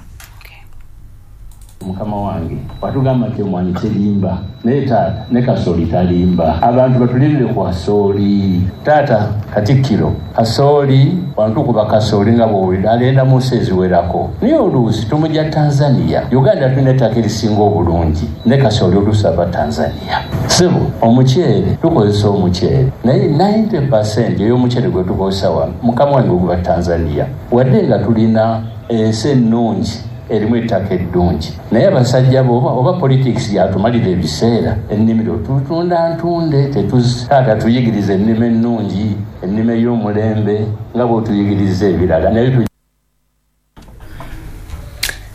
Mukama wange watugamba nti omwanyi terimba, naye taata ne kasooli talimba. Abantu batulirire ku kasooli. Taata Katikkiro, kasooli wantukuba kasooli nga bw'owulira agenda mu nsi eziwerako, naye oluusi tumujja Tanzania. Uganda tulina ettaka erisinga obulungi, ne kasooli oluusi ava Tanzania. Sebo omuceere tukozesa omuceere, naye ninety percent ey'omuceere gwe tukozesa wano, mukama wange, guva Tanzania. Wadde nga tulina ensi ennungi erimu ettaka eddungi, naye abasajja bo oba, oba politics yatumalira ebiseera, ennimiro tutunda ntunde. Taata tuyigiriza ennima ennungi, ennima ey'omulembe nga bw'otuyigiriza ebirala, naye tu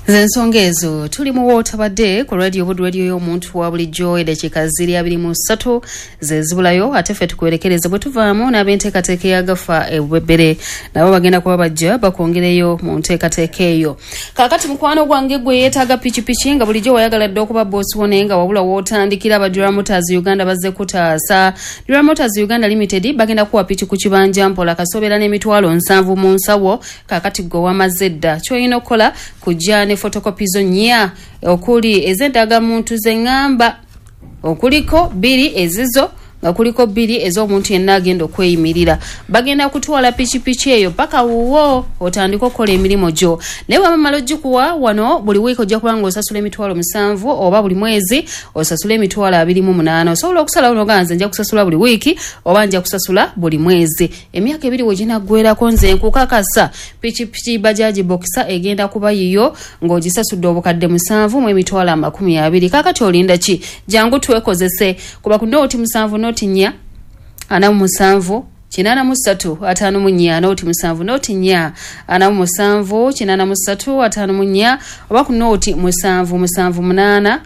Zensonga ezo tuli mu wootabadde ku Radio Buddu, radio y'omuntu wa bulijjo. Eddakiika ziri abiri mu ssatu ze zibulayo, ate ffe tukuwerekereze bwe tuvaamu n'ab'enteekateeka eyagafa ebwebbere nabo bagenda kuba bajja bakwongereyo mu nteekateeka eyo. Kaakati mukwano gwange gwe yeetaaga pikipiki nga bulijjo wayagala dde okuba boosi wo, naye nga wabula wootandikira, aba Dura Motors Uganda bazze kutaasa. Dura Motors Uganda Limited bagenda kuwa piki ku kibanja mpola kasobeera n'emitwalo nsanvu mu nsawo. Kaakati gwe wamaze dda, ky'olina okukola kujja ne photocopy zo nnya, okuli ez'endagamuntu zeŋŋamba, okuliko bbiri ezizo nga kuliko bbiri ez'omuntu yenna agenda okweyimirira. Bagenda kutwala pikipiki eyo paka wuwo otandike okukola emirimu gyo. Naye bw'abamala ogikuwa wano, buli wiiki ojja kuba nga osasula emitwalo musanvu oba buli mwezi osasula emitwalo abiri mu munaana. Osobola okusalawo nogaa nze nja kusasula buli wiiki oba nja kusasula buli mwezi. Emyaka ebiri we ginaggwerako, nze nkukakasa pikipiki Bajaji Boxer egenda kuba yiyo ng'ogisasudde obukadde musanvu mu emitwalo amakumi abiri. Kaakati olinda ki? Jangu twekozese kuba ku nooti musanvu nooti nnya ana mu musanvu kinaana mu ssatu ataano mu nnya, nooti musanvu nooti nnya ana mu musanvu kinaana mu ssatu ataano mu nnya, oba ku nooti musanvu musanvu munaana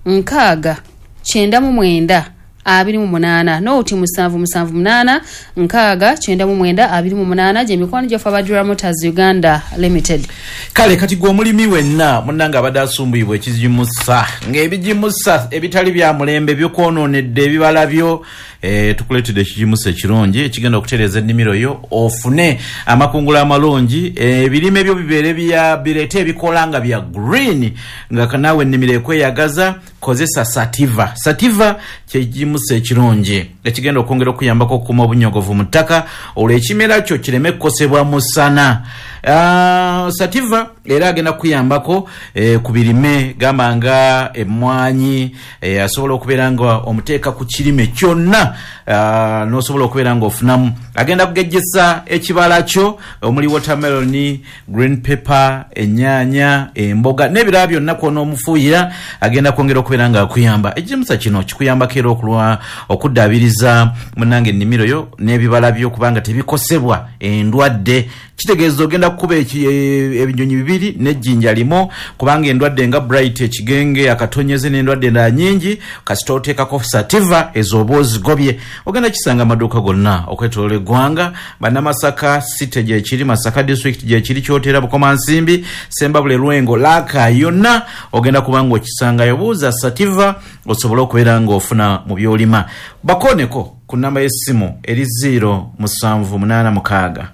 nkaaga kyenda mu mwenda abiri mu munaana, nooti musanvu musanvu munaana nkaaga kyenda mu mwenda abiri mu munaana. Gye mikwano gyaffe aba Dura Motors Uganda Limited. Kale kati gwe omulimi wenna munnange abadde asumbuyibwa ekigimusa, ng'ebigimusa ebitali bya mulembe bikwonoonedde ebibala byo, e, tukuleetedde ekigimusa ekirungi ekigenda okutereeza ennimiro yo ofune amakungula amalungi, ebirime byo bibeere bya bireete ebikola nga bya green, nga naawe ennimiro ekweyagaza. Kozesa Sativa. Sativa kyekigimusa ekirungi ekigenda okwongera okuyambako okukuuma obunyogovu mu ttaka, olwo ekimera kyo kireme kukosebwa musana. Uh, sativa era agenda kukuyambako eh, ku birime gamba nga emmwanyi, eh, asobola okubeera nga omuteeka ku kirime kyonna, uh, n'osobola okubeera nga ofunamu. Agenda kugejjesa ekibala kyo omuli watermelon, green pepper, ennyaanya, emboga n'ebirala byonna kwonoomufuuyira. Agenda kwongera okubeera nga akuyamba. Ekigimusa kino kikuyambako era okulwa okuddaabiriza munnange ennimiro yo n'ebibala byo kubanga tebikosebwa endwadde. Kitegeeza ogenda kukuba ebinyonyi bibiri. bibiri n'ejjinja limu, kubanga endwadde nga bright, ekigenge, akatonyeze n'endwadde endala nnyingi, kasita oteekako Sativa ez'oba ozigobye. Ogenda kisanga amaduuka gonna okwetoloola eggwanga. Bannamasaka city gyekiri, Masaka district gyekiri, Kyotera, Bukomansimbi, Sembabule, Lwengo, Laaka, yonna ogenda kuba ng'okisangayo. Buuza Sativa osobole okubeera ng'ofuna mu by'olima. Bakoneko ku namba y'essimu eri zero musanvu munaana mukaaga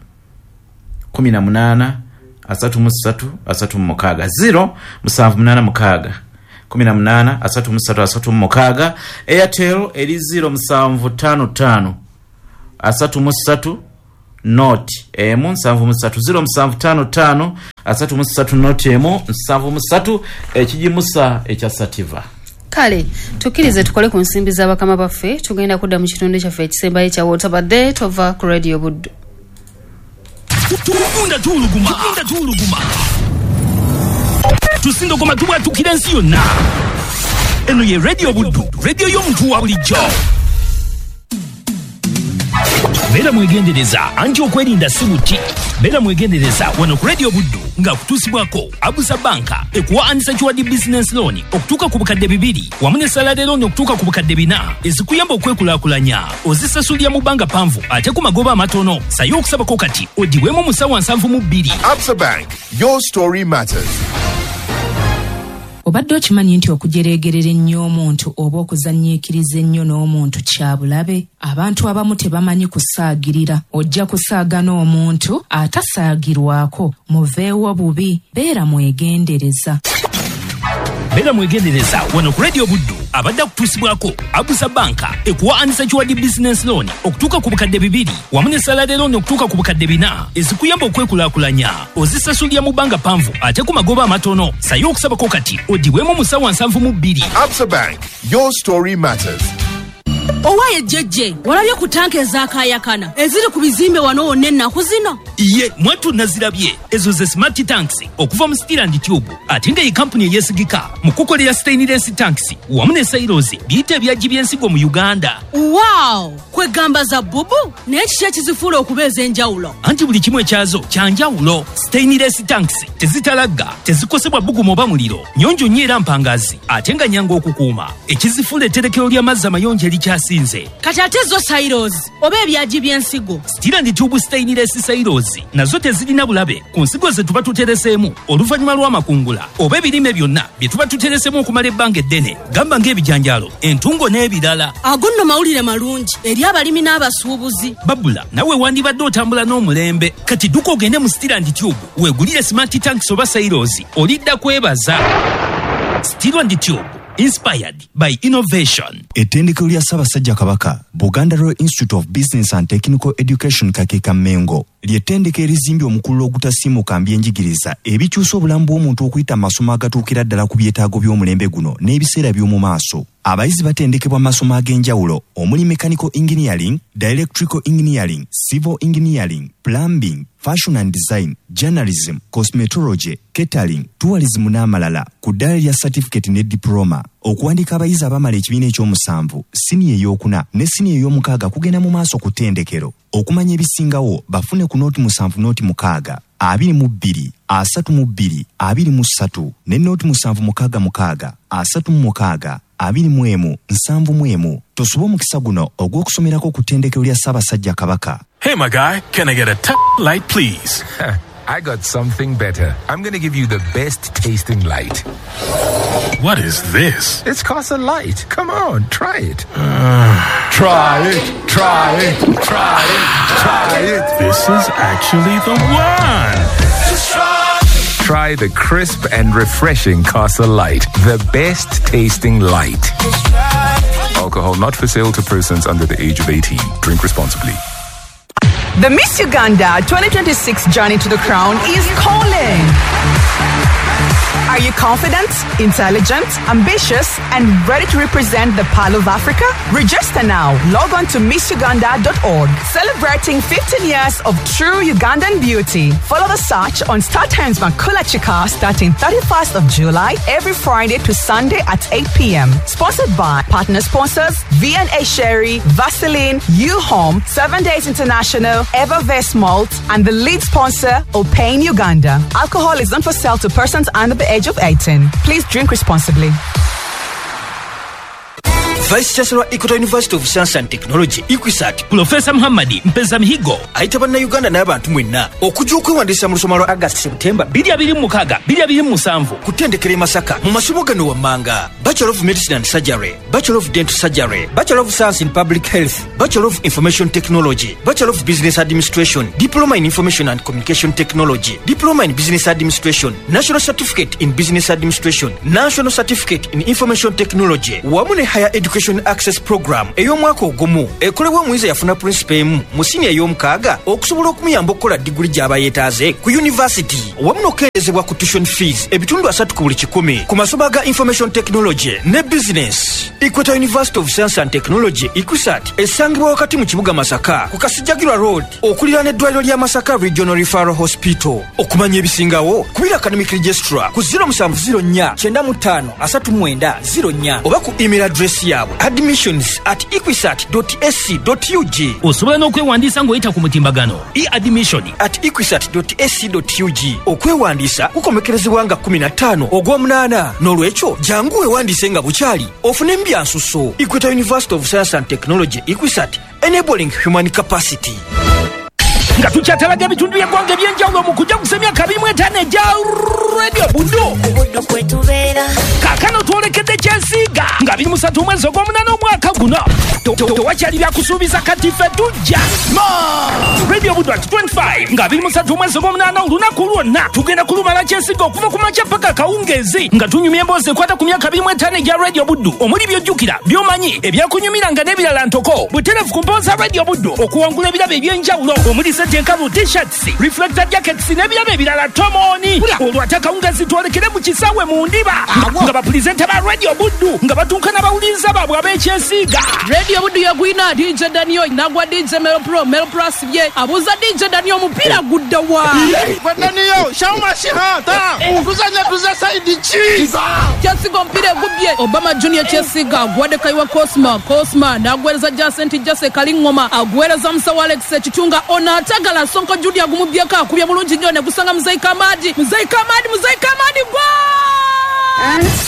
kumi na munaana asatu mu ssatu asatu mu mukaaga, zero musanvu munaana mukaaga kumi na munaana asatu mu ssatu asatu mu mukaaga. Airtel eri zero musanvu ttaano ttaano asatu mu ssatu nought emu nsanvu mu ssatu, zero musanvu ttaano ttaano asatu mu ssatu nought emu nsanvu mu ssatu. Ekigimusa ekya Sativa. Kale tukkirize tukole ku nsimbi z'abakama baffe. Tugenda kudda mu kitundu kyaffe ekisembayo ekya Wotabadde. Tova ku Radio Buddu. Tugunda tuwuluguma, tugunda tuwuluguma, tusindogoma, tubwatukira ensi yonna. Eno ye Radio Buddu, radio y'omuntu wa bulijjo. Beera mwegendereza, anti okwerinda si buti. Beera mwegendereza wano ku Radio Buddu nga kutuusibwako Abusa Banka, ekuwa unsecured business loan okutuuka ku bukadde bibiri wamu ne salary loan okutuuka ku bukadde bina, ezikuyamba okwekulaakulanya. Ozisasulira mu bbanga ppanvu ate ku magoba amatono. Sayo okusabako kati odibwemu mu ssaawa nsanvu mu bbiri. Absa Bank, your story matters. Obadde okimanyi nti okujereegerera ennyo omuntu oba okuzannyiikiriza ennyo n'omuntu kya bulabe? Abantu abamu tebamanyi kusaagirira. Ojja kusaaga n'omuntu atasaagirwako, muveewo bubi. Beera mwegendereza. Beera mwegendereza wano ku Radio Buddu abadde akutuusibwako Abusa Banka, ekuwa unsecured business loan okutuuka ku bukadde bibiri wamu ne salary loan okutuuka ku bukadde bina, ezikuyamba okwekulaakulanya. Ozisasulira mu bbanga ppanvu ate ku magoba amatono. Sayo okusabako kati odibwemu mu ssaawa nsanvu mu bbiri. Absa Bank, your story matters. Owaye jjejje, walabye ku tanka ezakaayakana eziri ku bizimbe wano wonna ennaku zino? Ye mwattu, nazirabye. Ezo ze smart tanks okuva mu Steel and Tube, ate nga ye kampuni eyeesigika mu kukolera stainless tanks wamu ne silos, biyite ebyagi by'ensigo mu Uganda. Wow, kwegamba za bubu. Naye kiki ekizifuula okuba ez'enjawulo? Anti buli kimu ekyazo kya njawulo. Stainless tanks tezitalagga, tezikosebwa bbugumu oba muliro, nnyonjo nnyo era mpangazi, ate nga nnyangu okukuuma. Ekizifuula etterekero ly'amazzi amayonjo erikyasinze. Kati ate zo silos oba ebyagi by'ensigo? Steel and Tube stainless silos nazo tezirina bulabe ku nsigo ze tuba tutereseemu oluvannyuma lw'amakungula oba ebirime byonna bye tuba tutereseemu okumala ebbanga eddene, gamba ng'ebijanjaalo, entungo n'ebirala. Ago nno mawulire malungi eri abalimi n'abasuubuzi. Babula nawe wandibadde otambula n'omulembe. Kati dduka ogende mu Steel and Tube weegulire smart tanks oba silos, olidda kwebaza. Steel and Tube, inspired by innovation. Ettendekero lya Ssaabasajja Kabaka, Buganda Royal Institute of Business and Technical Education, Kakeeka Mengo, ly'ettendekero erizimbye omukululo ogutasiimuka mbyenjigiriza ebikyusa obulamu bw'omuntu okuyita mu masomo agatuukira ddala ku byetaago by'omulembe guno n'ebiseera by'omu maaso. Abayizi batendekebwa mu masomo ag'enjawulo omuli mechanical engineering, electrical engineering, civil engineering, plumbing, fashion and design, journalism, cosmetology, catering, tourism n'amalala ku ddaala lya certificate ne diploma. Okuwandiika abayizi abamala ekibiina ekyomusanvu, siniya ey'okuna ne siniya ey'omukaaga kugenda mu maaso ku ttendekero. Okumanya ebisingawo bafune ku nooti musanvu nooti mukaaga abiri mu bbiri asatu mu bbiri abiri mu ssatu ne nooti musanvu mukaaga mukaaga asatu mu mukaaga abiri mu emu nsanvu mu emu. Tosuba omukisa guno ogw'okusomerako ku ttendekero lya Ssaabasajja Kabaka. Hey, my guy, can I get a t- light, please? I got something better. I'm going to give you the best tasting light. What is this? It's Casa Light. Come on, try it. Uh, try it, try it, try it, try it. This is actually the one. Just try. Try the crisp and refreshing Casa Light, the best tasting light. Alcohol not for sale to persons under the age of eighteen. Drink responsibly. The Miss Uganda twenty twenty-six Journey to the Crown is calling. Are you confident, intelligent, ambitious, and ready to represent the Pearl of Africa? Register now. Log on to miss uganda dot org. Celebrating fifteen years of true Ugandan beauty. Follow the search on StarTimes Makula Chika starting thirty-first of July every Friday to Sunday at eight p.m. Sponsored by partner sponsors V and A Sherry, Vaseline, U-Home, Seven Days International, Evervest Malt, and the lead sponsor, Opane Uganda. Alcohol is not for sale to persons under the age of eighteen. Please drink responsibly. Vice Chancellor Equator University of Science and Technology EQUSaT Professor Muhammad Mpeza Mihigo ayita bannayuganda n'abantu mwenna okujja okwewandiisa mu lusoma lwa August September bbiri abiri mu mukaaga bbiri abiri mu musanvu kutendekera e Masaka mu masomo gano wammanga: Bachelor of Medicine and Surgery, Bachelor of Dental Surgery, Bachelor of Science in Public Health, Bachelor of Information Technology, Bachelor of Business Administration, Diploma in Information and Communication Technology, Diploma in Business Administration, National Certificate in Business Administration, National Certificate in Information Technology wamu ne Higher Education Access Program ey'omwaka ogumu ekolebwa omuyizi yafuna principal emu mu siniya ey'omukaaga okusobola okumuyamba okukola diguli gy'aba yeetaaze ku university wamu n'okukendeezebwa ku tuition fees ebitundu asatu ku buli kikumi ku masomo aga Information Technology ne Business. Equator University of Science and Technology EQUSaT esangibwa wakati mu kibuga Masaka ku Kasijjagirwa Road okuliraana eddwaliro lya Masaka Regional Referral Hospital. Okumanya ebisingawo kubira academic registrar ku zero musanvu zero nnya kyenda mu ttaano asatu mwenda zero nnya oba ku email address yaabwe admissions at equisat dot a c dot u g. Osobola n'okwewandiisa ng'oyita ku mutimbagano e-admission at equisat dot a c dot u g. Okwewandiisa kukomekerezebwa nga kkumi na ttaano ogw'omunaana, n'olwekyo jangu weewandiise nga bukyali ofune mbyansuso. Equator University of Science and Technology EQUSaT, enabling human capacity. Nga tukyatalaga ebitundu by'eggwanga ebyenjawulo mu kujaguza emyaka abiri mu etaano egya Radio Buddu. Kaakano twolekedde Kyesiiga nga abiri mu ssatu omwezi ogw'omunaana omwaka guno. Tewakyali byakusuubiza, kati ffe tujja Radio Buddu at twenty-five nga abiri mu ssatu omwezi ogw'omunaana. Olunaku lwonna tugenda kulumala Kyesiiga okuva ku makya paka kawungeezi nga tunyumya emboozi ekwata ku myaka abiri mu etaano egya Radio Buddu, omuli by'ojjukira, by'omanyi, ebyakunyumiranga n'ebirala ntoko butereevu ku mpooza za Radio Buddu okuwangula ebirabo ebyenjawulo omuli sente enkalu, T-shirts, reflector jackets n'ebirabo ebirala tomoni. Olwo ate akawungeezi twolekere mu kisaawe mu Ndiba nga bapulizenta ba Radio Buddu nga batuuka n'abawuliriza baabwe ab'Ekyesiiga. Radio Buddu yagwina D J Daniel nagwa D J Melo Pro. Melo Pro asibye, abuuza D J Daniel omupiira gudda wa? Daniel shaumashihata tuzanya tuza side ki? Kyesiga omupiira egubbye Obama Junior. Kyesiga aguwadde Kaiwa Cosma. Cosma n'aguweereza Jacent Jase Kalingoma, aguweereza Musawo Alex Ekitunga. Ono atagala Sonko Junior agumubyeko, akubye bulungi nnyo ne gusanga Muzeyi Kamadi. Muzeyi Kamadi, Muzeyi Kamadi gwa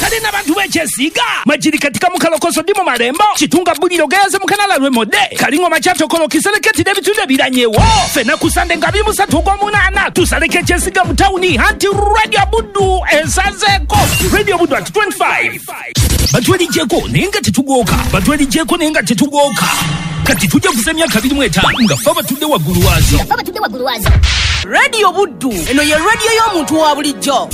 kale n'abantu b'Ekyesiiga Majiri katika mukalokoso ndi mu Malembo Kitunga Buliro Gayaze Mukanala Lwemodde Kalingoma Kyatokolo Kisereketi n'ebitundu ebiranyewo. Ffenna ku Sande nga abiri mu ssatu ogw'omunaana tusaleko Ekyesiiga mu tawuni anti Radio Buddu esazeeko. Radio Buddu at twenty-five. Batwerigyeko naye nga tetugooka, batwerigyeko naye nga tetugooka. Kati tujja kuza emyaka abiri mu etaano nga ffe abatudde waggulu waazo. Radio Buddu eno ye radio y'omuntu wa bulijjo.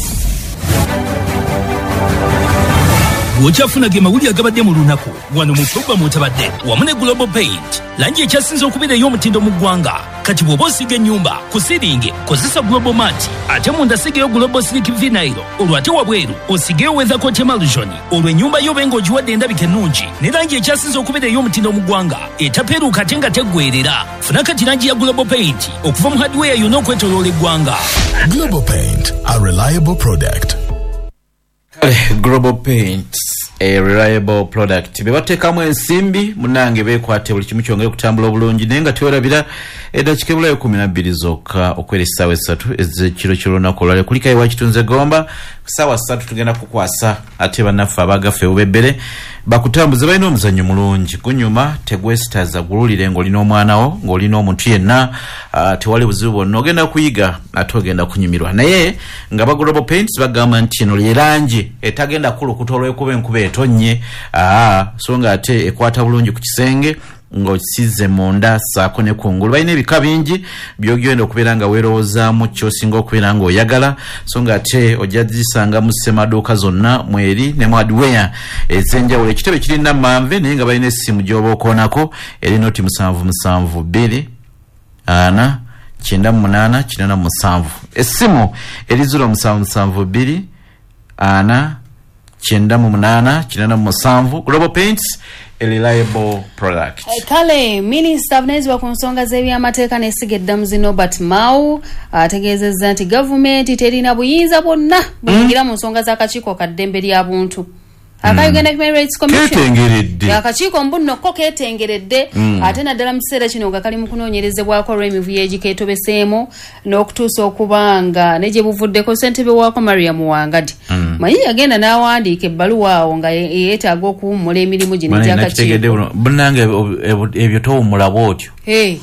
Bw'okyafuna ge mawulire agabadde mu lunaku wano mu pulogulaamu Otabadde wamu ne Global Paint, langi ekyasinze okubeera ey'omutindo mu ggwanga. Kati bw'oba osiiga ennyumba ku siringi kozesa Global Mat, ate munda sigeyo Global Silk Vinyl, olwo ate wabweru osigeyo Weathercoat Emulsion, olwo ennyumba yo obe ng'ogiwadde endabika ennungi ne langi ekyasinze okubeera ey'omutindo mu ggwanga etapeeruuka ate nga teggweerera. Funa kati langi ya Global Paint okuva mu hardware yonna okwetooloola eggwanga. Global Paint, a reliable product. Kale, Global Paint, a reliable product. Be bateekamu ensimbi munange beekwate buli kimu kyongere okutambula obulungi, naye nga tewerabira eddakiika ebulayo kumi na bbiri zokka okwera essaawa essatu ez'ekiro ky'olunaku olwaleero. Kulikayo Wakitunze Gomba ku ssaawa ssatu tugenda kukwasa ate bannaffe abagaffe bubebbere bakutambuze. Balina omuzannyo mulungi gunyuma, tegwesitaza, gululire ng'olina omwana wo, ng'olina omuntu yenna, uh, tewali buzibu bwonna, ogenda kuyiga ate ogenda kunyumirwa. Naye nga ba Global Paints bagamba nti eno lyerangi etagenda kulukuta olw'ekuba enkuba etonnye, aa so nga ate ekwata bulungi ku kisenge ng'okisize munda saako ne kungulu. Balina ebika bingi by'ogenda okubeera nga weerowoozaamu ky'osinga okubeera ng'oyagala, so nga ate ojja zisanga mu ssemaduuka zonna mweri ne mu hardware ez'enjawulo. Ekitebe kiri Nammanve, naye nga balina essimu gy'oba okoonako eri noti musanvu musanvu bbiri ana kyenda mu munaana kinaana mu musanvu. Essimu eri ziro musanvu musanvu bbiri ana kyenda mu munaana kinana mu musanvu. Global Paints, a reliable product. Kale minisita avunaanyizibwa ku nsonga z'ebyamateeka n'essiga eddamuzi Norbert Mao ategeezezza nti gavumenti terina buyinza bwonna buyingira mu nsonga z'akakiiko ka ddembe lya buntu aka Uganda Human Rights Commission. Ketengeredde. Akakiiko mbu ko ketengeredde, Mm. ate naddala mu kiseera kino nga kali mu kunoonyerezebwako olw'emivuyo egikeetobeseemu n'okutuusa okubanga ne gye buvuddeko ssentebe waako Mariam Wangadi Mm. manyi yagenda n'awandiika ebbaluwa awo nga ye- yeetaaga okuwummula emirimu gino Bana egy'akakiiko. nakitegedde buno. Munnange, ebyo- ebyo towummula bw'otyo, Hey,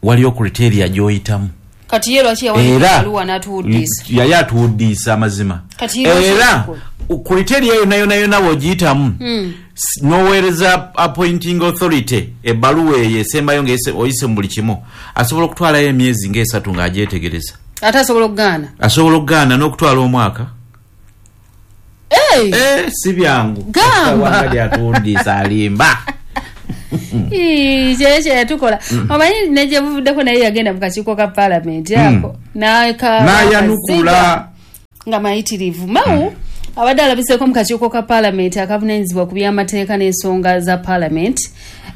waliyo criteria gy'oyitamu. Kati ye lwaki yawandiika Era ebbaluwa n'atuwuddiisa? Yali atuwuddiisa amazima. Kati ye lwaki Era yakikola? criteria yonna yonna yonna bw'ogiyitamu, Mm. s- n'oweereza appointing authority ebbaluwa eyo esembayo ng'ese oyise mu buli kimu, asobola okutwalayo emyezi ng'esatu ng'agyetegereza. Ate asobola okugaana? Asobola okugaana n'okutwala omwaka. Hey! Eh, si byangu. Gamba. Wangadi atuwuddiisa, alimba. Ii, kyekyo yatukola. Mm. Omanyi ne gye buvuddeko naye yagenda mu kakiiko ka paalamenti Mm. ako n'aka- N'ayanukula. nga mayitirivu. Mao abadde alabiseeko mu kakiiko ka paalamenti akavunaanyizibwa ku byamateeka n'ensonga za paalamenti,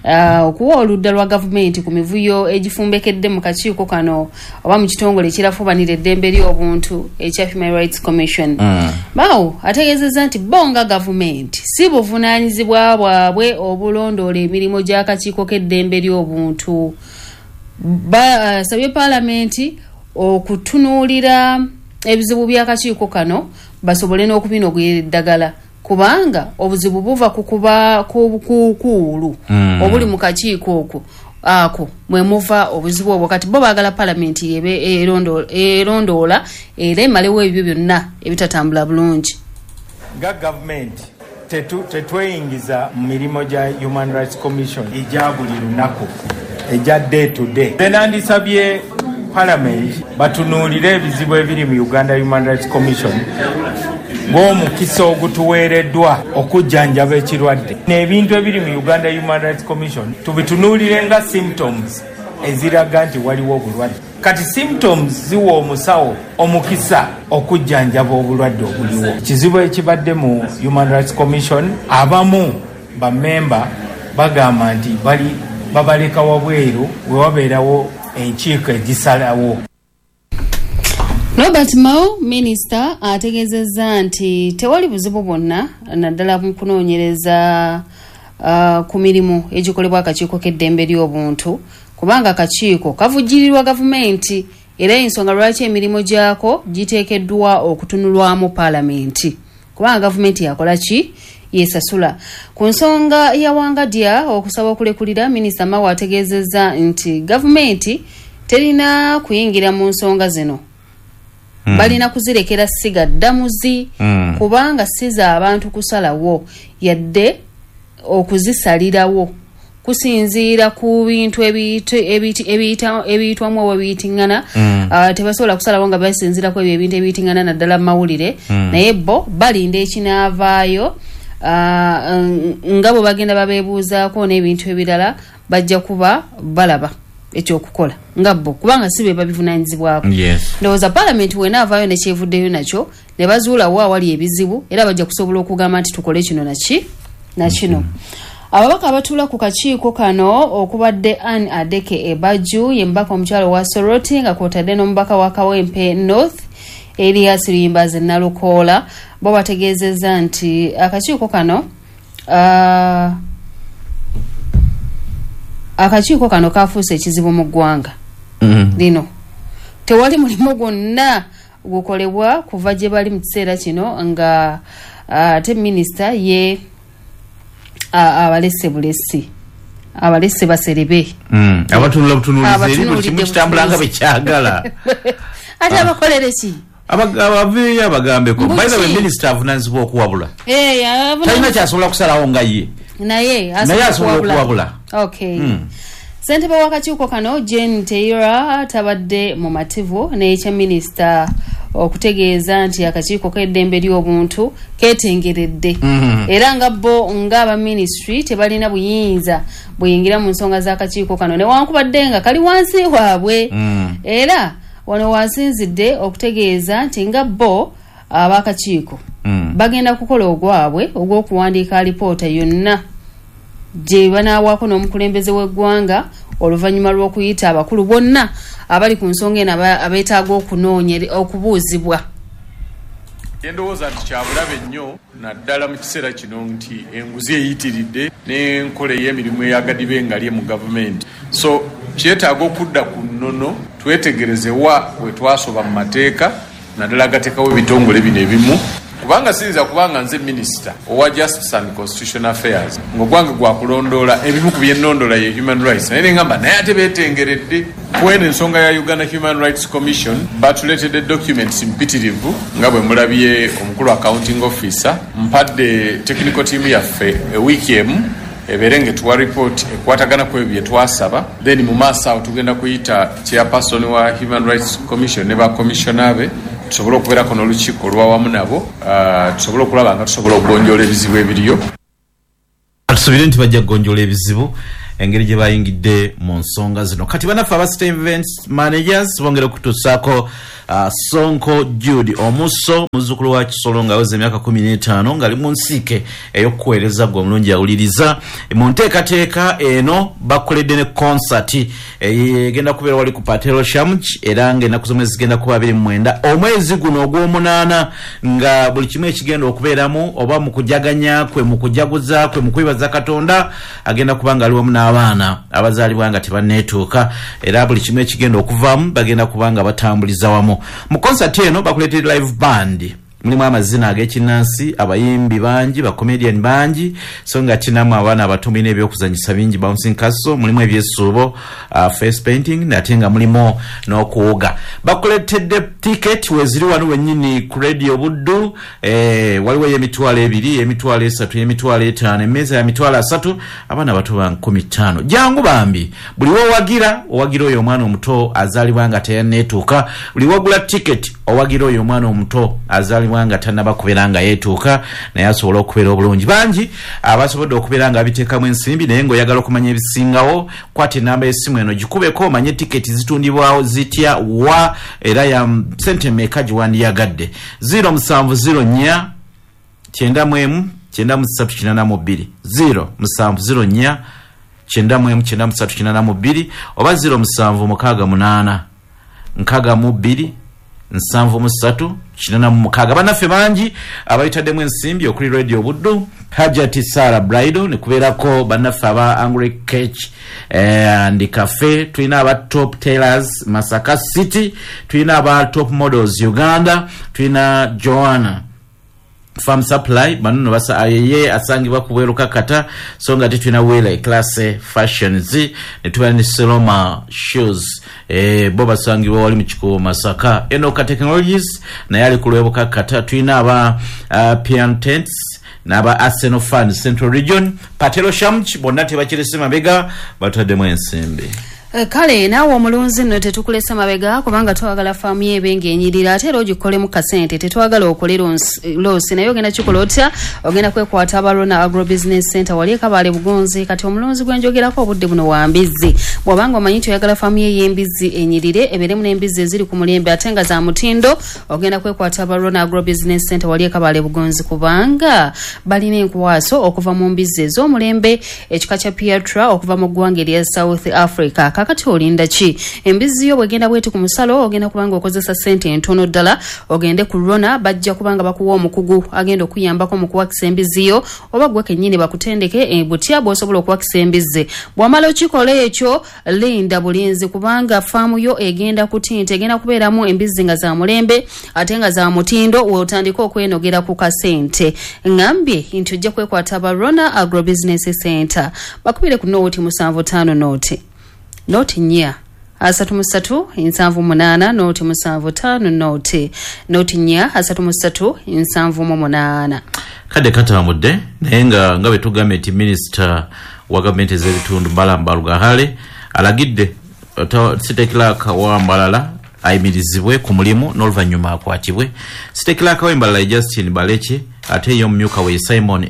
uh, okuwa oludda lwa gavumenti ku mivuyo egifumbekedde mu kakiiko kano oba mu kitongole ekirafubanira eddembe ly'obuntu ekya Human Rights Commission. Mm. Mao ategeezezza nti bo nga gavumenti si buvunaanyizibwa bwabwe obulondoola emirimu gy'akakiiko k'eddembe ly'obuntu. Basabye paalamenti okutunuulira ebizibu by'akakiiko kano basobole n'okubinogera eddagala, kubanga obuzibu buva ku kuba ku bukuukuulu Mm. obuli mu kakiiko okwo, ako mwe muva obuzibu obwo. Kati bo baagala paalamenti ebe erondo- erondoola era emalewo ebyo byonna ebitatambula bulungi. Nga gavumenti tetu- tetweyingiza mu mirimu gya Human Rights Commission egya buli lunaku, egya day to day. Nze nandisabye parliament batunuulire ebizibu ebiri mu Uganda Human Rights Commission ng'omukisa ogutuweereddwa okujjanjaba ekirwadde. N'ebintu ebiri mu Uganda Human Rights Commission tubitunuulire nga symptoms eziraga nti waliwo obulwadde. Kati symptoms ziwa omusawo omukisa okujjanjaba obulwadde obuliwo. Ekizibu ekibadde mu Human Rights Commission, abamu bamemba bagamba nti bali babaleka wabweru we wabeerawo enkiiko egisalawo. Robert Mao minisita ategeezezza nti tewali buzibu bwonna naddala mu kunoonyereza uh, ku mirimu egikolebwa akakiiko k'eddembe ly'obuntu, kubanga akakiiko kavujjirirwa gavumenti era ensonga lwaki emirimu gyako giteekeddwa okutunulwamu paalamenti, kubanga gavumenti yakola ki, yesasula. Ku nsonga ya Wangadya okusaba okulekulira, minisita Mao ategeezezza nti gavumenti terina kuyingira mu nsonga zino, Mm. balina kuzirekera ssiga ddamuzi, Mm. kubanga si za abantu kusalawo yadde okuzisalirawo kusinziira ku bintu ebiyite- ebiyite- ebiyita- ebiyitwamu oba ebiyitiŋŋana. Mm. Ah, tebasobola kusalawo nga basinziira ku ebyo ebintu ebiyitiŋŋana naddala mu mawulire, Mm. naye bo balinda ekinaavaayo, ah, nga bwe bagenda babeebuuzaako n'ebintu ebirala bajja kuba balaba ekyokukola nga bo, kubanga si be babivunaanyizibwako. Yes. Ndowooza paalamenti wenaavaayo nekyevuddeyo nakyo ne bazuulawo awali ebizibu, era bajja kusobola okugamba nti tukole kino naki nakino. Ababaka abatuula ku kakiiko kano okubadde Ann Adeke Ebaju, ye mubaka omukyalo wa Soroti, nga kwotadde n'omubaka wa Kawempe North Elias Luyimbazi Nalukoola, bo bategeezezza nti akakiiko kano ah, akakiiko kano kafuuse ekizibu mu ggwanga Mm. lino. Tewali mulimu gwonna gukolebwa kuva gye bali mu kiseera kino, nga ate minisita ye ah, abalese bulesi, abalese baserebe. Mm. Abatunula butunuulizi eri buli Abatunuulidde kimu kitambula nga bwe butunuulizi. kyagala. Ate abakolere ki? Aba- abaveeyo abagambeko. Mbuki. By the way, minisita avunaanyizibwa okuwabula, Eh, avuna- talina kyasobola kusalawo nga ye, naye naye asobola okuwabula. Okay. Mm. Ssentebe w'akakiiko kano Jane Teira tabadde mumativu n'ekya minisita okutegeeza nti akakiiko k'eddembe ly'obuntu keetengeredde, Mhm. era nga bo ng'aba minisitule tebalina buyinza buyingira mu nsonga z'akakiiko kano newankubadde nga kali wansi waabwe. Mm. Era wano wasinzidde okutegeeza nti nga bo ab'akakiiko Mm. Bagenda kukola ogwabwe ogw'okuwandiika alipoota yonna gye banaawaako n'omukulembeze w'eggwanga oluvannyuma lw'okuyita abakulu bonna abali ku nsonga eno abeetaaga okunoonya okubuuzibwa. Endowooza nti kyabulabe nnyo naddala mu kiseera kino nti enguzi eyitiridde n'enkola ey'emirimu eyagadiba engalye mu gavumenti. So kyetaaga okudda ku nnono twetegereze wa we twasoba mu mateeka naddala agateekawo ebitongole bino ebimu, kubanga siyinza kubanga nze minisita owa Justice and Constitutional Affairs ng'ogwange gwakulondoola ebimu ku byennondola ye human rights, naye nengamba naye ate beetengeredde kweno ensonga ya Uganda Human Rights Commission. Batuleetedde documents mpitirivu nga bwe mulabye omukulu accounting officer. Mpadde technical team yaffe ewiiki emu ebeere ng'etuwa report ekwatagana ku ebyo bye twasaba, then mu maaso awo tugenda kuyita chairperson wa Human Rights Commission ne ba commissioner be tusobole okubeerako n'olukiiko olwawamu nabo, uh, tusobole okulaba nga tusobola okugonjoola ebizibu ebiriyo. Tusuubire nti bajja kugonjoola ebizibu engeri gye bayingidde mu nsonga zino. Kati bannaffe aba State Events Managers bongera okutuusaako uh, Sonko Jude Omuso, muzzukulu wa Kisolo ng'aweza emyaka kumi n'etaano ng'ali mu nsiike ey'okuweereza gwe omulungi awuliriza. Mu nteekateeka eno bakoledde ne concert egenda kubeera wali ku Patelo Shamch, era ng'ennaku z'omwezi zigenda kuba abiri mu mwenda omwezi guno ogw'omunaana, nga buli kimu ekigenda okubeeramu oba mu kujaganya kwe, mu kujaguza kwe, mu kwebaza Katonda, agenda kuba nga ali wamu n'abaana abazaalibwa nga tebanneetuuka, era buli kimu ekigenda okuvaamu bagenda kuba nga batambuliza wamu. Mu concert eno bakuleetedde live band, mulimu amazina ag'ekinnansi, abayimbi bangi, bacomedian bangi, so nga kinamu abaana abato, mulina ebyokuzanyisa bingi, bouncing castle, mulimu ebyesuubo, uh, face painting, ate nga mulimu n'okuwuga. Bakuleetedde ticket weziri wano wennyini ku Radio Buddu. eh, waliwo ey'emitwalo ebiri, emitwalo esatu, emitwalo etaano, emmeeza ya mitwalo asatu, abaana bato ba nkumi ttaano. Jangu bambi, buli wowagira owagira oyo omwana omuto azaalibwa nga teyanneetuuka, buli wogula ticket owagira oyo omwana omuto azaalibwa nga tannaba kubeera nga yeetuuka naye asobole okubeera obulungi. Bangi abasobodde okubeera nga biteekamu ensimbi, naye ng'oyagala okumanya ebisingawo, kwata enamba y'essimu eno gikubeko omanye tiketi zitundibwawo zitya, wa, era ya sente meka giwandiyagadde. Zero musanvu zero nnya kyenda mu emu kyenda mu ssatu kinaana mu bbiri, zero musanvu zero nnya kyenda mu emu kyenda mu ssatu kinaana mu bbiri, oba zero musanvu mukaaga munaana nkaaga mu bbiri nsanvu mu ssatu kinana mu mukaaga. Bannaffe bangi abayitaddemu ensimbi okuli Radio Buddu, Hajati Sara Brido, ne kubeerako bannaffe aba Angry Cake and Cafe, tulina aba Top Tailors Masaka City, tulina aba Top Models Uganda, tulina Joanna Farm Supply, bano basa ayeye asangibwa ku bweru Kakata, so nga tulina Wele Class Fashions, ne tuba ne Seloma Shoes, eh bo basangibwa wali mu Kikuubo Masaka. Enoka Technologies naye ali ku lwebo Kakata. Tulina aba uh, Pian Tents n'aba Arsenal Fans Central Region, Patelo Shamch, bonna tebakirese mabega, bataddemu ensimbi. Kale naawe omulunzi nno tetukulesa mabega, kubanga twagala faamu yo ebe ng'enyirira ate era ogikolemu kasente. Tetwagala okole loss, naye ogenda kikola otya? Ogenda kwekwata Abalona Agro Business Center wali Ekabaale Bugonzi. Kati omulunzi gwe njogerako obudde buno wa mbizzi. Bw'obanga omanyi nti oyagala faamu yo ey'embizzi enyirire, ebeeremu n'embizzi eziri ku mulembe ate nga za mutindo, ogenda kwekwata Abalona Agro Business Center wali Ekabaale Bugonzi, kubanga balina enkwaso okuva mu mbizzi ez'omulembe ekika kya Piatra okuva mu ggwanga erya South Africa. Kakati olinda ki? Embizzi yo bwegenda bweti ku musalo, ogenda kubanga okozesa sente entono ddala. Ogende ku Rona, bajja kubanga bakuwa omukugu agenda okuyambako mu kuwakisa embizzi yo, oba gwe kennyini bakutendeke e, butya bw'osobola okuwakisa embizzi. Bw'omala okikola ekyo, linda bulinzi, kubanga faamu yo egenda kutinta, egenda kubeeramu embizzi nga za mulembe ate nga za mutindo, weotandika okwenogera ku kasente. Ŋŋambye nti ojja kwekwata aba Rona Agro Business Center. Bakubire ku nooti musanvu ttaano nooti nooti nnya asatu mu ssatu nsanvu munaana, nooti musanvu ttaano nooti nooti nnya asatu mu ssatu nsanvu mu munaana. Kadde katambudde, naye nga nga bwe tugambye nti minisita wa gavumenti ez'ebitundu Balaam Barugahare alagidde city clerk wa Mbarara ayimirizibwe ku mulimu n'oluvannyuma akwatibwe. City clerk w'Embarara Justin Baleke, ate ye omumyuka we Simon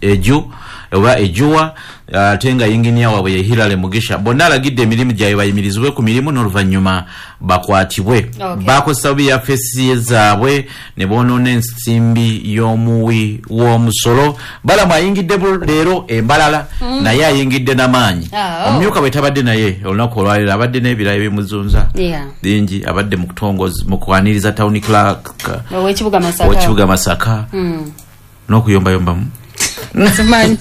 Eju oba Ejuwa. Ate nga yinginiya waabwe ye Hilary Mugisha. Bonna alagidde emirimu gyabwe bayimirizibwe ku mirimu n'oluvannyuma bakwatibwe. Okay. Bakozesa bubi yafesi zaabwe ne boonoona ensimbi y'omuwi w'omusolo. Balamu ayingidde leero embalala Mm. naye ayingidde n'amaanyi. Ah, oh. Omumyuka bwe tabadde naye olunaku olwaleero abadde n'ebirala ebimuzunza Yeah. bingi, abadde mu kutongoza mu kwaniriza town clerk Ow'ekibuga Masaka. ow'ekibuga Masaka Mm. n'okuyombayombamu. Simanyi.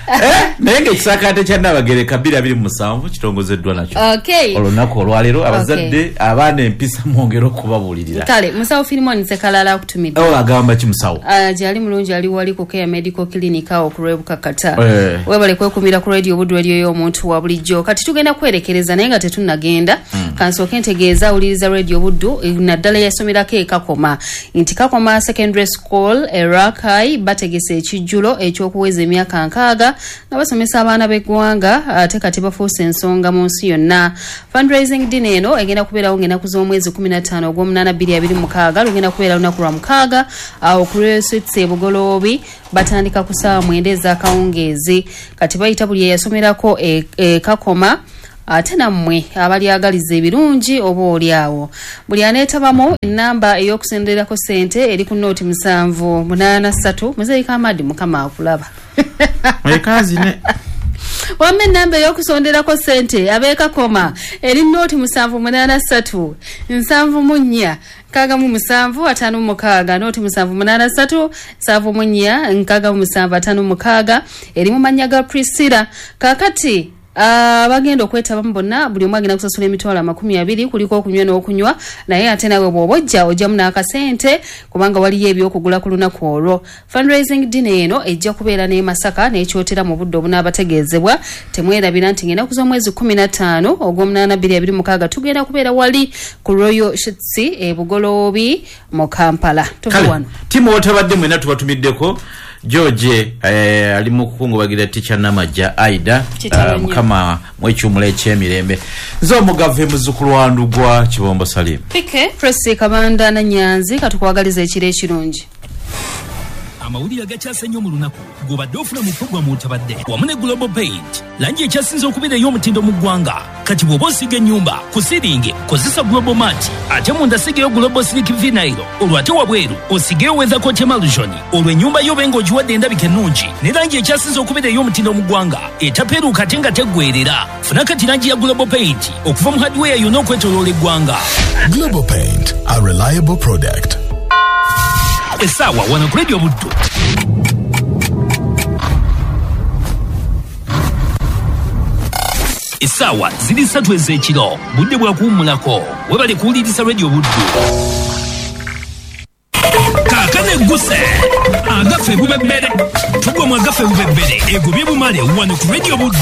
Eh, naye ng'ekisaakaate kya Nnaabagereka bbiri abiri mu musanvu kitongozeddwa nakyo Okay. olunaku olwaleero. Abazadde, abaana empisa mwongere okubabuulirira. Kale musawo Filimon Sekalala akutumidde. Oh, agamba ki musawo? Uh, gyali mulungi, ali wali ku Care Medical Clinic awo ku Lwebukakata. Eh. Webale kwekumira ku radio Buddu, radio y'omuntu wa bulijjo. Kati tugenda kwerekereza, naye nga tetunnagenda Mm. kansooke ntegeeza awuliriza radio Buddu, eh, naddala yasomerako e Kakoma, nti Kakoma Secondary School e Rakai bategese ekijjulo ekyokuweza emyaka nkaaga nga basomesa abaana b'eggwanga, ate kati bafuuse ensonga mu nsi yonna. Fundraising dinner eno egenda kubeerawo ng'ennaku z'omwezi kumi na ttaano ogw'omunaana bbiri abiri mu mukaaga, lugenda kubeera lunaku lwa mukaaga awo ku Royal Suites e Bugoloobi. Batandika ku ssaawa mwenda ez'akawungeezi. Kati bayita buli eyasomerako e, e Kakoma, ate nammwe abalyagaliza ebirungi oba oli awo buli aneetabamu. Enamba ey'okusendererako ssente eri ku nooti musanvu munaana ssatu. Muzeeyi Kamadi, Mukama akulaba. Ekazine. Wamma enamba ey'okusonderako ssente ab'ekakoma eri nooti musanvu munaana ssatu nsanvu mu nnya nkaaga mu musanvu ataano mu mukaaga, nooti musanvu munaana ssatu nsanvu mu nnya nkaaga mu musanvu ataano mu mukaaga, eri mu mannya ga Priscilla. Kaakati abagenda okwetabamu bonna, buli omu agenda kusasula emitwalo amakumi abiri, kuliko okunywa n'okunywa, naye ate nawe bw'oba ojja ojjamu n'akasente kubanga waliyo ebyokugula ku lunaku olwo. Fundraising dinner eno ejja kubeera n'e Masaka n'ekyotera mu budde obunaabategeezebwa. Temwerabira nti ng'ennaku z'omwezi kumi na ttaano ogw'omunaana bbiri abiri mukaaga tugenda kubeera wali ku Royal Suites e Bugoloobi mu Kampala. Tuve Kale, wano. Timu otabadde mwena tubatumiddeko. George eh, ali mu kukungubagira Teacher Namajja Aida. Kitalo uh, nnyo. Mukama mwekyumula ekyemirembe. Nze omugave muzzukulu wa Ndugwa Kibombo Salim. Pike Presi Kabanda na Nyanzi, katukwagaliza ekiro ekirungi. Amawulire agakyase ennyo mu lunaku gobadde ofuna mu pulogulaamu otabadde wamu ne Global Paint, langi ekyasinze okubeera ey'omutindo mu ggwanga. Kati bw'oba osiiga ennyumba ku siringi kozesa Global Mat, ate munda sigeyo Global Silk Vinyl, olwo ate wabweru osigeyo Weathercoat Emulsion, olwo ennyumba yo obe ng'ogiwadde endabika ennungi ne langi ekyasinze okubeera ey'omutindo mu ggwanga, etapeeruuka ate nga teggweerera. Funa kati langi ya Global Paint okuva mu hardware yonna okwetooloola eggwanga. Global Paint, a reliable product. Essaawa wano ku Radio Buddu essaawa ziri ssatu ez'ekiro, budde bwa kuwummulako. Webale kuwuliriza Radio Buddu. Kaakano egguse agaffe bubebbere, tugwa mu agaffe bubebbere egobye bumale wano ku Radio Buddu.